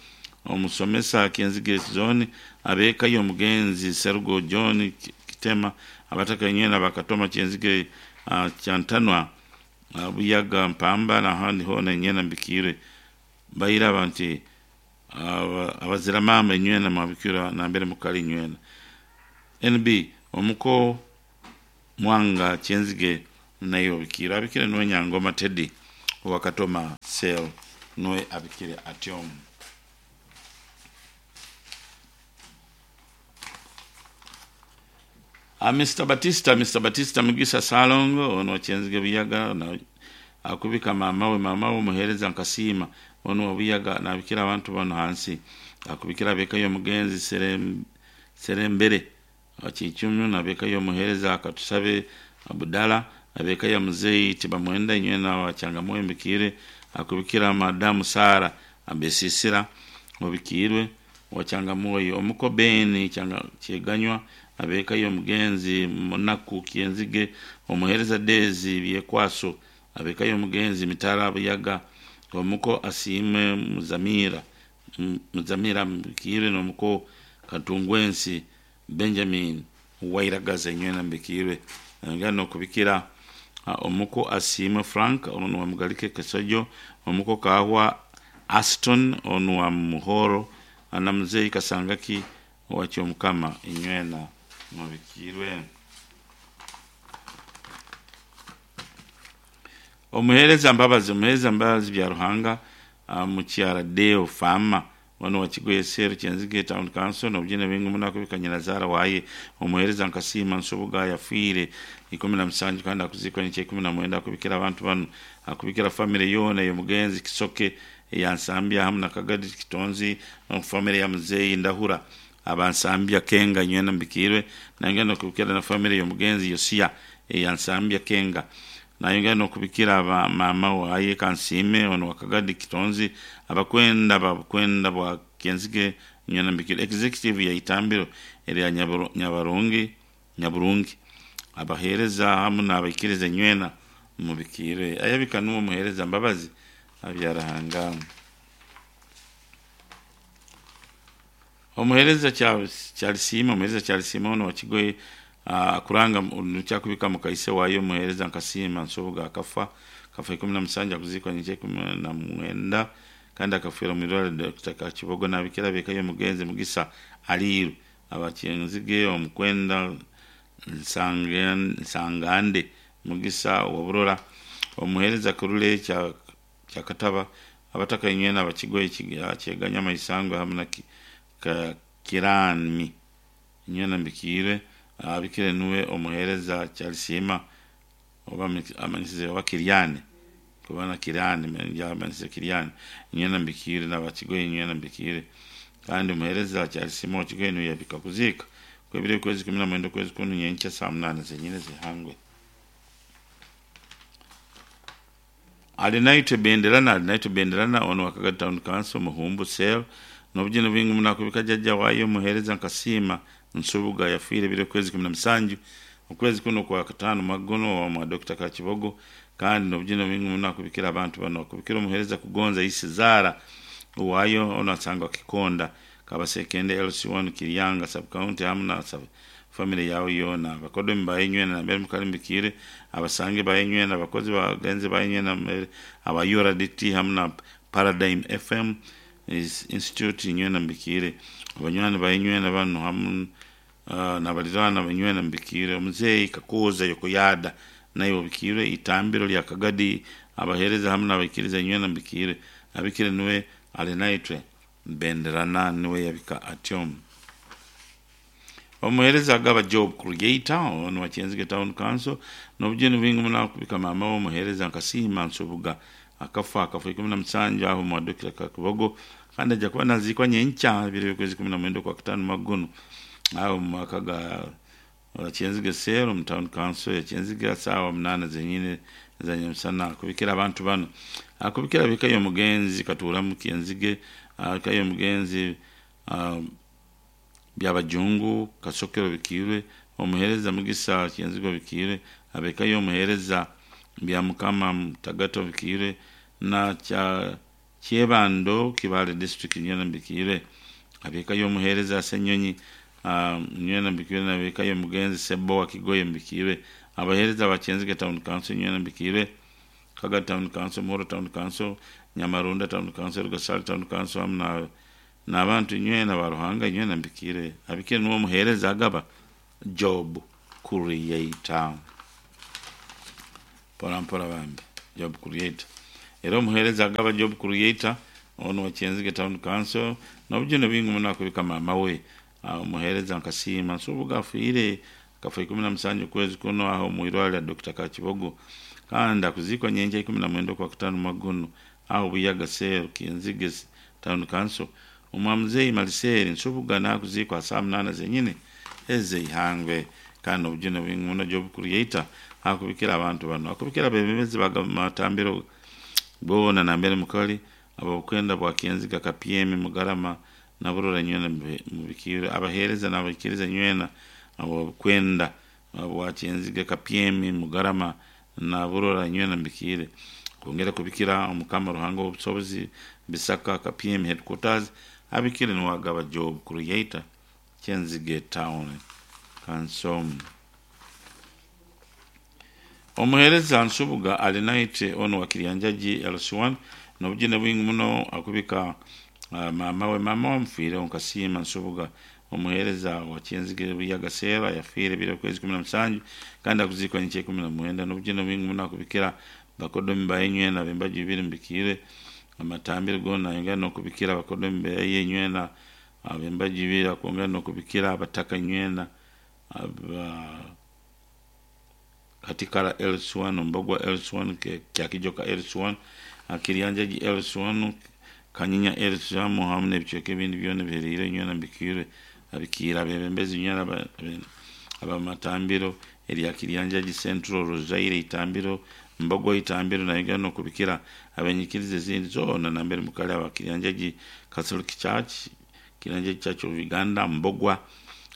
omusomesa Kyenzige Zone, ab'eka y'omugenzi Serugo John Kitema, abataka inywena Bakatoma Kyenzige Kyantanwa Buyaga Mpamba n'ahandi hoona inywena mbikiirwe bairaba nti abazira maama inywena mwabikirwa nambere mukali inywena. NB omuko Mwanga Kyenzige naiwe obikiirwe abikire nuwe Nyangoma Teddy owa Katoma Cell nuwe abikire atyo. Mister Batista Mister Batista Mugisa Ssalongo ono wa Kyenzige Buyaga akubika maama we maama we omuheereza Nkasiima onu wa Buyaga nabikira abantu banu hansi akubikira ab'eka y'omugenzi Serembere Kiicumu n'ab'eka y'omuheereza Katusabe Abudala ab'eka ya muzeeyi Tibamwenda inywena wa Kyangamoyo Mbikiire akubikira madamu Sara Abesisira Obikiirwe. wa Kyangamwoyo, omuko Ben Kyeganywa, ab'eka y'omugenzi Munaku Kyenzige, omuheereza Daisy Byekwaso, ab'eka y'omugenzi Mitala Buyaga, omuko Asiimwe Muzamira Muzamira Mbikiirwe n'omuko Katungwensi Benjamin Wairagaza inywena mbikiirwe. Nayongera n'okubikira omuko Asiimwe Frank onu wa Mugalike Kesojo, omuko Kaahwa Aston onu wa Muhoro na muzeeyi Kasangaki owa Kyomukama inywena mubikiirwe. Omuheereza Mbabazi Omuheereza Mbabazi Byaruhanga Mukyara Deo Farmer wanu wa Kigoye Cell Kyenzige Town Council n'obugyene bwingi muno akubika nyinazaara waye Omuheereza Nkasiima Nsubuga yafiire 17 kandi akuziikwa nyenkya 19 akubikira abantu banu akubikira famire yoona ey'omugenzi Kisoke eya Nsambya hamu na Kagadi Kitonzi n'omu famire ya muzeeyi Ndahura aba Nsambya Kenga nywena mbikiirwe nayongera n'okubikira na famire y'omugenzi Yosia eya Nsambya Kenga nayongera n'okubikira ba maama waye Kansiime ono wa Kagadi Kitonzi abakwenda ba Bukwenda bwa Kyenzige nywena mbikiirwe executive ya Itambiro erya Nyabarungi Nyaburungi abaheereza hamu n'abaikiriza nywena mubikiirwe ayabika nuwe omuheereza Mbabazi Abyarahanga. Omuheereza Kyalisiima Omuheereza Kyalisiima ono wa Kigoye akuranga nikyakubika mukaise waayo omuheereza Nkasiima Nsubuga akafa akafa 17 akuziikwa nyenkya 19 kandi akafiira omu irwariro Dr. Kakibogo nabikira ab'eka y'omugenzi Mugisa Aliiru aba Kyenzige omukwenda Nsangande Mugisa wa Burora omuheereza Kurule Kyakataba abataka inywena aba Kigoye Kyeganya Maisangwe hamu na Kirami inywena mbikiirwe abikire nuwe omuheereza Kyalisiima oba amanyisize oba Kiryane kuba na Kiryane amanyisize Kiryane inywena mbikiirwe n'abakigoye inywena mbikiirwe kandi omuheereza Kyalisiima wa Kigoye nuwe yabika kuziika kwebire okwezi 19 okwezi kunu nyenkya saa 8 zenyine zihangwe. Alinaitwe Benderana Alinaitwe Benderana ono wa Kagadi Town Council Muhumbu Cell n'obugyene bwingi muno akubika jjajja waayo omuheereza Nkasiima Nsubuga yafiire biri okwezi 17 okwezi kuno kwa kataano mwaka guno mwa Dr. Kakibogo kandi n'obugyene bwingi muno akubikira abantu bano akubikira omuheereza Kugonza Isi Zaara owaayo ono asangwa Kikonda Kabasekende LC1 Kiryanga sub county hamu na famire yawe yoona abakodomi baye nywena nambere mukali mbikiire abasange baye nywena abakozi bagenzi baye nywena aba URDT hamu na Paradigm FM Institute nywena mbikiire abanywani baye nywena banu hamu nabaliraana banywena mbikiire omuzeeyi Kakooza Yokoyada naye obikiire itambiro lya Kagadi abaheereza hamu n'abaikiriza nywena mbikiire abikire niwe Alinaitwe Benderana niwe yabika atyo. Omuheereza agaba Job Creator ono wa Kyenzige Town Council n'obugyene bwingi muno akubika maama we omuheereza Nkasiima Nsubuga akafa akafa 17 aho mwa Dr. Kakibogo kandi ajja kuba naziikwa nyenkya biri okwezi 19 kwa kataano mwaka guno aho mu maka ga Kyenzige Cell omu Town Council ya Kyenzige saawa 8 zenyine za nyamusana akubikira abantu bano akubikira ab'eka y'omugenzi Katuuramu Kyenzige eka y'omugenzi Byabajungu Kasokero Bikiirwe omuheereza Mugisa Kyenzige Bikiirwe ab'eka y'omuheereza Byamukama Mutagato Bikiirwe na Kyebando Kibaale District nywena mbikiirwe ab'eka y'omuheereza Ssenyonyi nywena mbikiirwe n'ab'eka y'omugenzi Ssebowa Kigoye mbikiirwe abaheereza ba Kyenzige Town Council nywena mbikiirwe Kagadi Town Council Muhoro Town Council Nyamarunda Town Council Rugasari Town Council hamu n'abantu inywena ba Ruhanga inywena mbikiire abikire nuwe omuheereza agaba Job Creator mpora mpora bambi Job Creator era omuheereza agaba Job Creator ono wa Kyenzige Town Council n'obugyene bwingi muno akubika maama we omuheereza Nkasiima Nsubuga afiire akafa 17 okwezi kuno aho mu irwariro lya Dr. Kakibogo kandi akuziikwa nyenkya 19 kwa kataano mwaka guno aho Buyaga Cell Kyenzige Town Council omwa muzeeyi Maliseri Nsubuga nakuziikwa saa 8 zenyine ez'eihangwe kandi obujune bwingi muno Job Creator akubikira abantu bano akubikira abeebembezi bamatambiro boona nambere mukali ababukwenda bwa Kyenzige KPM Mugarama Naburora nywena mubikiire abaheereza n'abaikiriza nywena abokwenda Bwakyenziga Kapyemi Mugarama Naburora nywena mubikiire kwongera kubikira Omukama Ruhanga ow'obusobozi Bisaka Kapyemi Headquarters abikire niwagaba Job Creator Kyenzige Town Council. Omuheereza Nsubuga Alinaitwe onu wa Kiryanjagi LC1 n'obugine bwingi muno akubika maama we. Maama we amufiireho Nkasiima Nsubuga omuheereza wa Kyenzige Buyaga Cell ayafiire ebiro okwezi 17 kandi akuziikwa nyenkya 19. N'obugine bwingi muno akubikira bakodomi baye nywena ab'embaju ibiri mubikiire amatambiro goona ayongera n'okubikira abakodomi baye nywena ab'embaju ibiri akwongera n'okubikira abataka nywena aba Katikara LC1, Mbogwa LC1, Kyakijoka LC1, Kiryanjagi LC1, Kanyinya LC1 hamu n'ebicweka ebindi byona ebihereire nywena mbikiire abikiire abebembezi nywena abamatambiro erya Kiryanjagi Central, Rozaire Itambiro, Mbogwa Itambiro nayongera n'okubikira abenyikiriza ezindi zoona nambere mukali aba Kiryanjagi Catholic Church, Kiryanjagi Church of Uganda, Mbogwa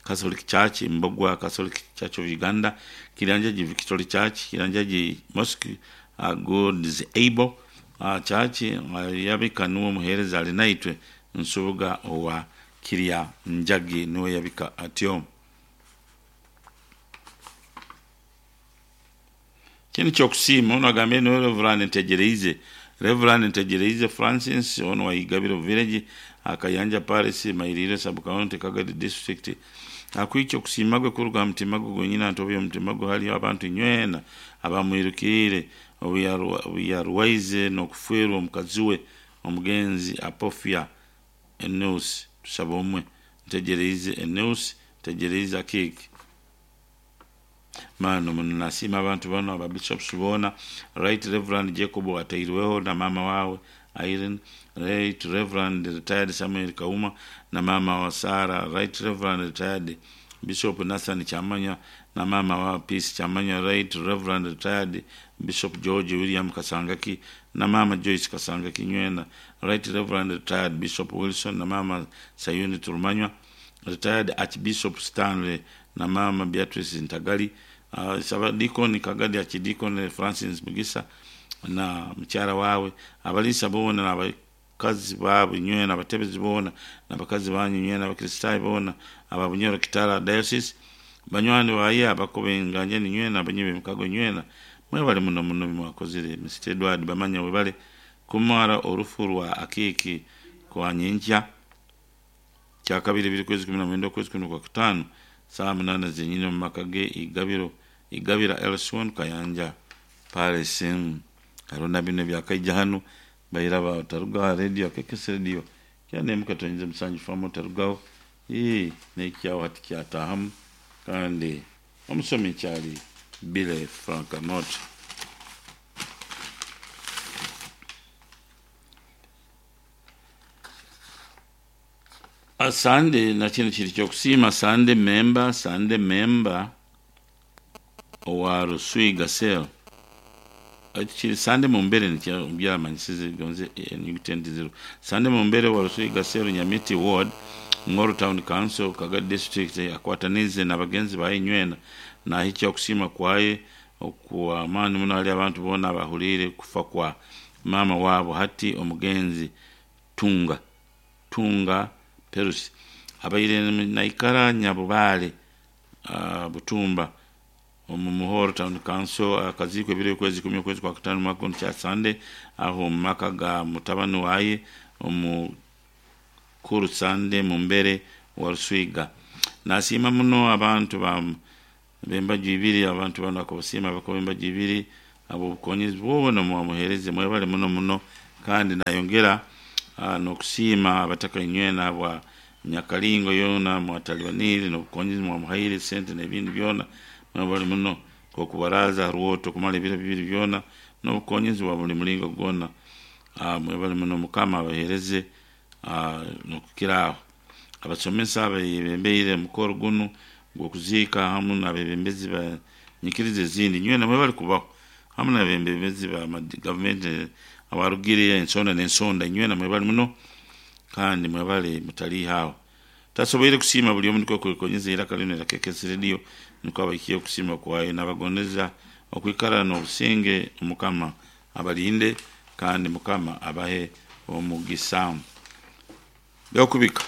Catholic Church, Mbogwa Catholic Church of Uganda, Kiryanjagi Victory Church, Kiryanjagi Mosque, God's Able Church, yabika niwe omuheereza Alinaitwe Nsubuga owa Kiryanjagi niwe yabika atyo. Kinu kyokusiima ono agambire niwe Reverand Ntegyereize Reverand Ntegyereize Francis ono wa Igabiro Village Kayanja Parish Mairire Sub County Kagadi District akwikya okusiima gwe kuruga aha mutima gwe gwenyini antobe omutima gwe hariyo abantu nywena abamwirukiriire obu yarwaize n'okufeerwa omukazi we omugenzi Apofia Eneus Tusabomwe Ntegyereize Eneus Ntegyereize Akiiki. Maani muno nasiima abantu banu aba bishops boona, Right Reverand Jacob Atairweho na maama wawe Irene, Right Reverand Retired Samuel Kauma na maama wa Sarah, Right Reverand Retired Bishop Nathan Kyamanya na maama wa Peace Kyamanya, Right Reverand Retired Bishop George William Kasangaki na maama Joyce Kasangaki Nywena, Right Reverand Retired Bishop Wilson na maama Sayuni Turumanywa, Retired Archbishop Stanley na maama Beatrice Ntagali, Sabadikoni Kagadi Archdeacon Francis Mugisa na mukyara wawe, abaliisa boona n'abakazi baabo nywena, abatebezi boona n'abakazi banyu nywena, abakristaayo boona aba Bunyoro Kitara Diocese, banywani baye abakobenganjani nywena, abanyi b'emikago nywena, mwebale muno muno bimwakozire. Mr Edward Bamanya webale kumara orufu rwa Akiiki kwa nyenkya kyakabiri biri kwezi 19 okwezi kuno kwa kutaano saa 8 zenyini omu maka ge Igabiro Igabira LC1 Kayanja Parish. Hariho na binu ebyakaija hanu baira bataruga aha radio akekese radio kyanemu katonyeze musanju famu otarugaho n'ekyaho hati kyatahamu kandi omusomi kyali Billy Frank Amot. Sande na kinu kiri kyokusiima Sande member owa Ruswiga Cell kiri Sande Mumbere nikyo byamanyisize gonze enyuguti zero Sande Mumbere wa Ruswiga Cell Nyamiti Ward Ngoro Town Council Kagadi District akwatanize na bagenzi baye nywena nahikya okusiima kwaye okwamaani muno hali abantu boona abahuriire kufa kwa maama waabo hati omugenzi Tunga Perusi abaire naikara Nyabubaale Butumba omu Muhoro Town Council akaziikwa ebiro okwezi 10 okwezi kwa kutaano mwaka guno kya Sande aho omu maka ga mutabani waye omukuru Sande Mumbere wa Ruswiga. Nasiima muno abantu b'embaju ibiri abantu banu akabasiima abakuba embaju ibiri ab'obukonyezi bwona mwamuheereze mwebale muno muno kandi nayongera n'okusiima abataka nywena bwa Nyakalingo yoona mwatalibanire n'obukonyezi mwamuhaire sente n'ebindi byona mwebale muno okubaraza rwoto kumara ebiro bibiri byona n'obukonyezi bwa buli mulingo gwona mwebale muno Mukama abaheereze n'okukira aho. Abasomesa abebembeire omukoro gunu gw'okuziika hamu n'abebembezi ba nyikiriza ezindi nywena mwebale kubaho hamu n'abebembezi ba gavumenti abarugire ensonda n'ensonda nywena mwebale muno. Kandi mwebale mutaliiha aho. Tasoboire kusiima buli omu nikwo kwekonyeza eiraka linu erya KKS Radio nikwo abaikiye okusiima kwayo nabagondeza okwikara nobusinge Mukama abalinde kandi Mukama abahe omugisa. Byokubika.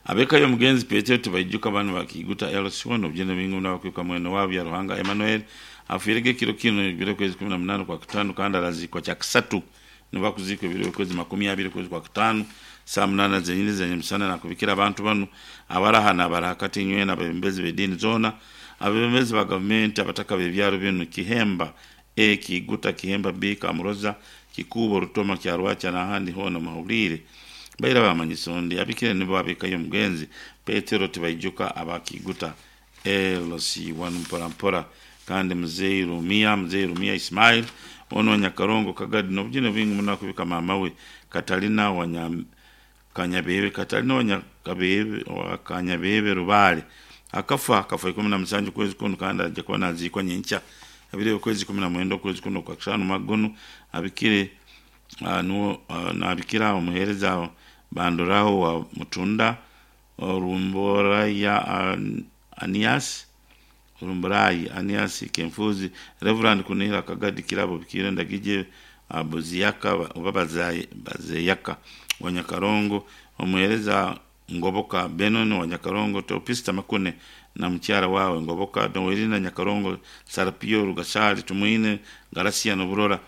Ab'eka y'omugenzi Petero Tibaijuka banu bakiiguta LC1 obugyenda bwingi muno abakwibuka mwene waabo Byaruhanga Emmanuel afiirege ekiro kinu ebiro okwezi 18 Okwakutaano kandi araziikwa Kyakisatu nibo akuziikwa ebiro by'okwezi 20 okwezi Kwakutaano saaha munaana zenyini eza nyamusana nakubikira abantu banu abaraha n'abarahakati inywena abebembezi b'ediini zoona abebembezi ba gavumenti abataka b'ebyaro binu Kihemba A Kiiguta Kihemba B Kamuroza Kikuubo Rutoma Kyarwakya n'ahandi hoona muhahuliire Baira baamanyisa ondi, abikire nibo ab'eka y'omugenzi Petero Tibaijuka aba Kiiguta LC1 mpora mpora kandi Muzeeyi Rumia, Muzeeyi Rumia Ismail, onu wa Nyakarongo Kagadi n'obujune bwingi muno akubika maama we Katalina wa Kanyabebe, Katalina wa Nyakabebe, wa Kanyabebe Rubaale akafa, akafa 17 okwezi kunu kandi aija kuba naziikwa nyenkya ebiro eby'okwezi 19 okwezi kunu okwa Kushaano omwaka gunu abikire Nuwe nabikira omuheereza Bandoraho wa Mutunda, Orumboraya Anias, Orumburayi Anias Kenfuzi, Rev. Kunihira Kagadi Kirabo Bikiire Ndagije Buziyaka oba Bazeyaka wa Nyakarongo, omuheereza Ngoboka Benon wa Nyakarongo, Teopista Makune na mukyara wawe Ngoboka Noelina Nyakarongo, Sarapio Rugasari Tumwine Garasia Noburora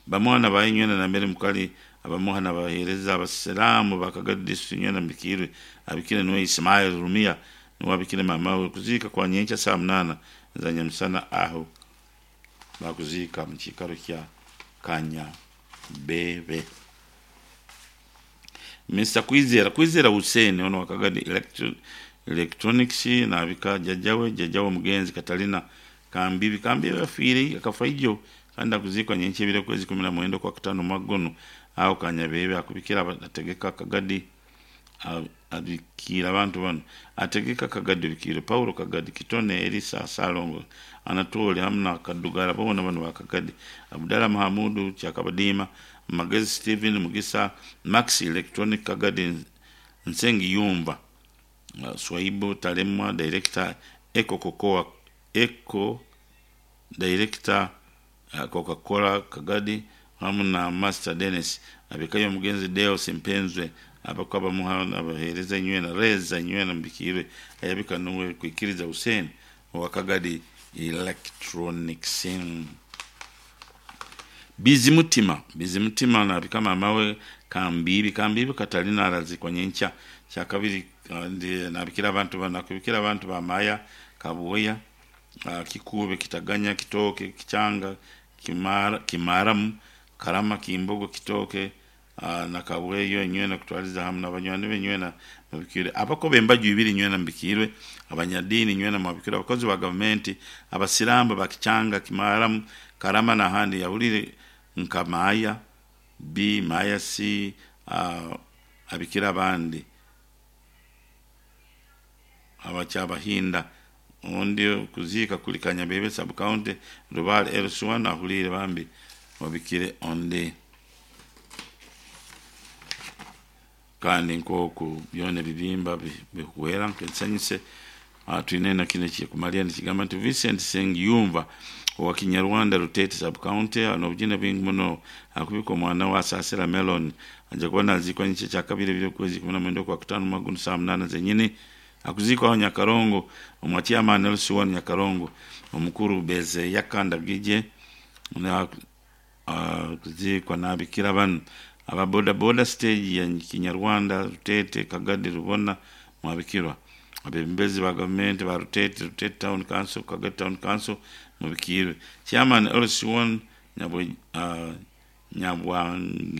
Bamwana ba inywena na Mary Mukali abamuha na baheereza abasiraamu ba Kagadi District inywena Mbikiirwe abikire niwe Ismail Rumia niwe abikire maama we kuziika kwa nyenkya saaha munaana za nyamusana aho bakuziika mu kiikaro kya Kanyabebe. Mister Kwizera Kwizera Hussein ono wa Kagadi Electronics nabika jajja we jajja w'omugenzi Katalina Kambibi Kambibi afiire akafa ijo kandi akuziikwa nyenkya ebiro okwezi 19 Okwakutaano omwaka gunu aho Kanyabebe akubikira ategeka Kagadi abikiire abantu banu ategeka Kagadi Obikiire Paulo Kagadi Kitone Erisa Ssalongo Anatole hamu na Kadugara boona banu ba Kagadi Abdallah Mahamudu Kyakabadiima Magezi Steven Mugisa Max Electronic Kagadi Nsengiyumva Swaibu Talemwa Director Eco Cocoa Eco Director Coca Cola Kagadi hamu na Master Dennis abikayo omugenzi Deo Sempenzwe abakuba bamuha nabaheereza inywena Reza inywena Mbikiirwe ayabika nuwe Kwikiriza Hussein owa Kagadi Electronics. Bizimutima Bizimutima nabika maama we Kambiibi Kambiibi Katalina arazikwa nyenkya Kyakabiri kandi nabikira abantu banu akubikira abantu ba Maya Kabuoya Kikuube Kitaganya Kitooke Kichanga Kimara Kimaramu Karama Kimbogo Kitooke na Kabweyo inywena kutwaliza hamu na banywani be inywena mubikirwe abakoba embaju ibiri inywena mubikirwe abanyadiini inywena mwabikirwe abakozi ba gavumenti abasirambo ba Kichanga Kimaramu Karama n'ahandi yahulire nka Maaya B Maaya C abikira abandi abakyabahinda ondi okuziika kuli Kanyabebe sub county Rubale LC1 ahuliire bambi obikire ondi. Kandi nk'oku byona ebibimba bihwera nk'ensanyuse twine na kinu ekikumalira nikigamba nti Vincent Sengiyumva owa Kinyarwanda Rutete sub county n'obujune bwingi muno akubika omwana we Asasira Melon aija kuba naziikwa nyenkya Kyakabiri ebiro okwezi 19 Okwakutaano omwaka gunu saaha munaana zenyini akuziikwaho Nyakarongo omwa Chairman LC1 Nyakarongo omukuru Bezeyaka Ndagije kuziikwa nabikira banu aba boda boda stage ya Kinyarwanda Rutete Kagadi Rubona mwabikirwa abebembezi ba gavumenti ba Rutete Rutete Town Council Kagadi Town Council mubikirwe Chairman LC1 Nyabwangera.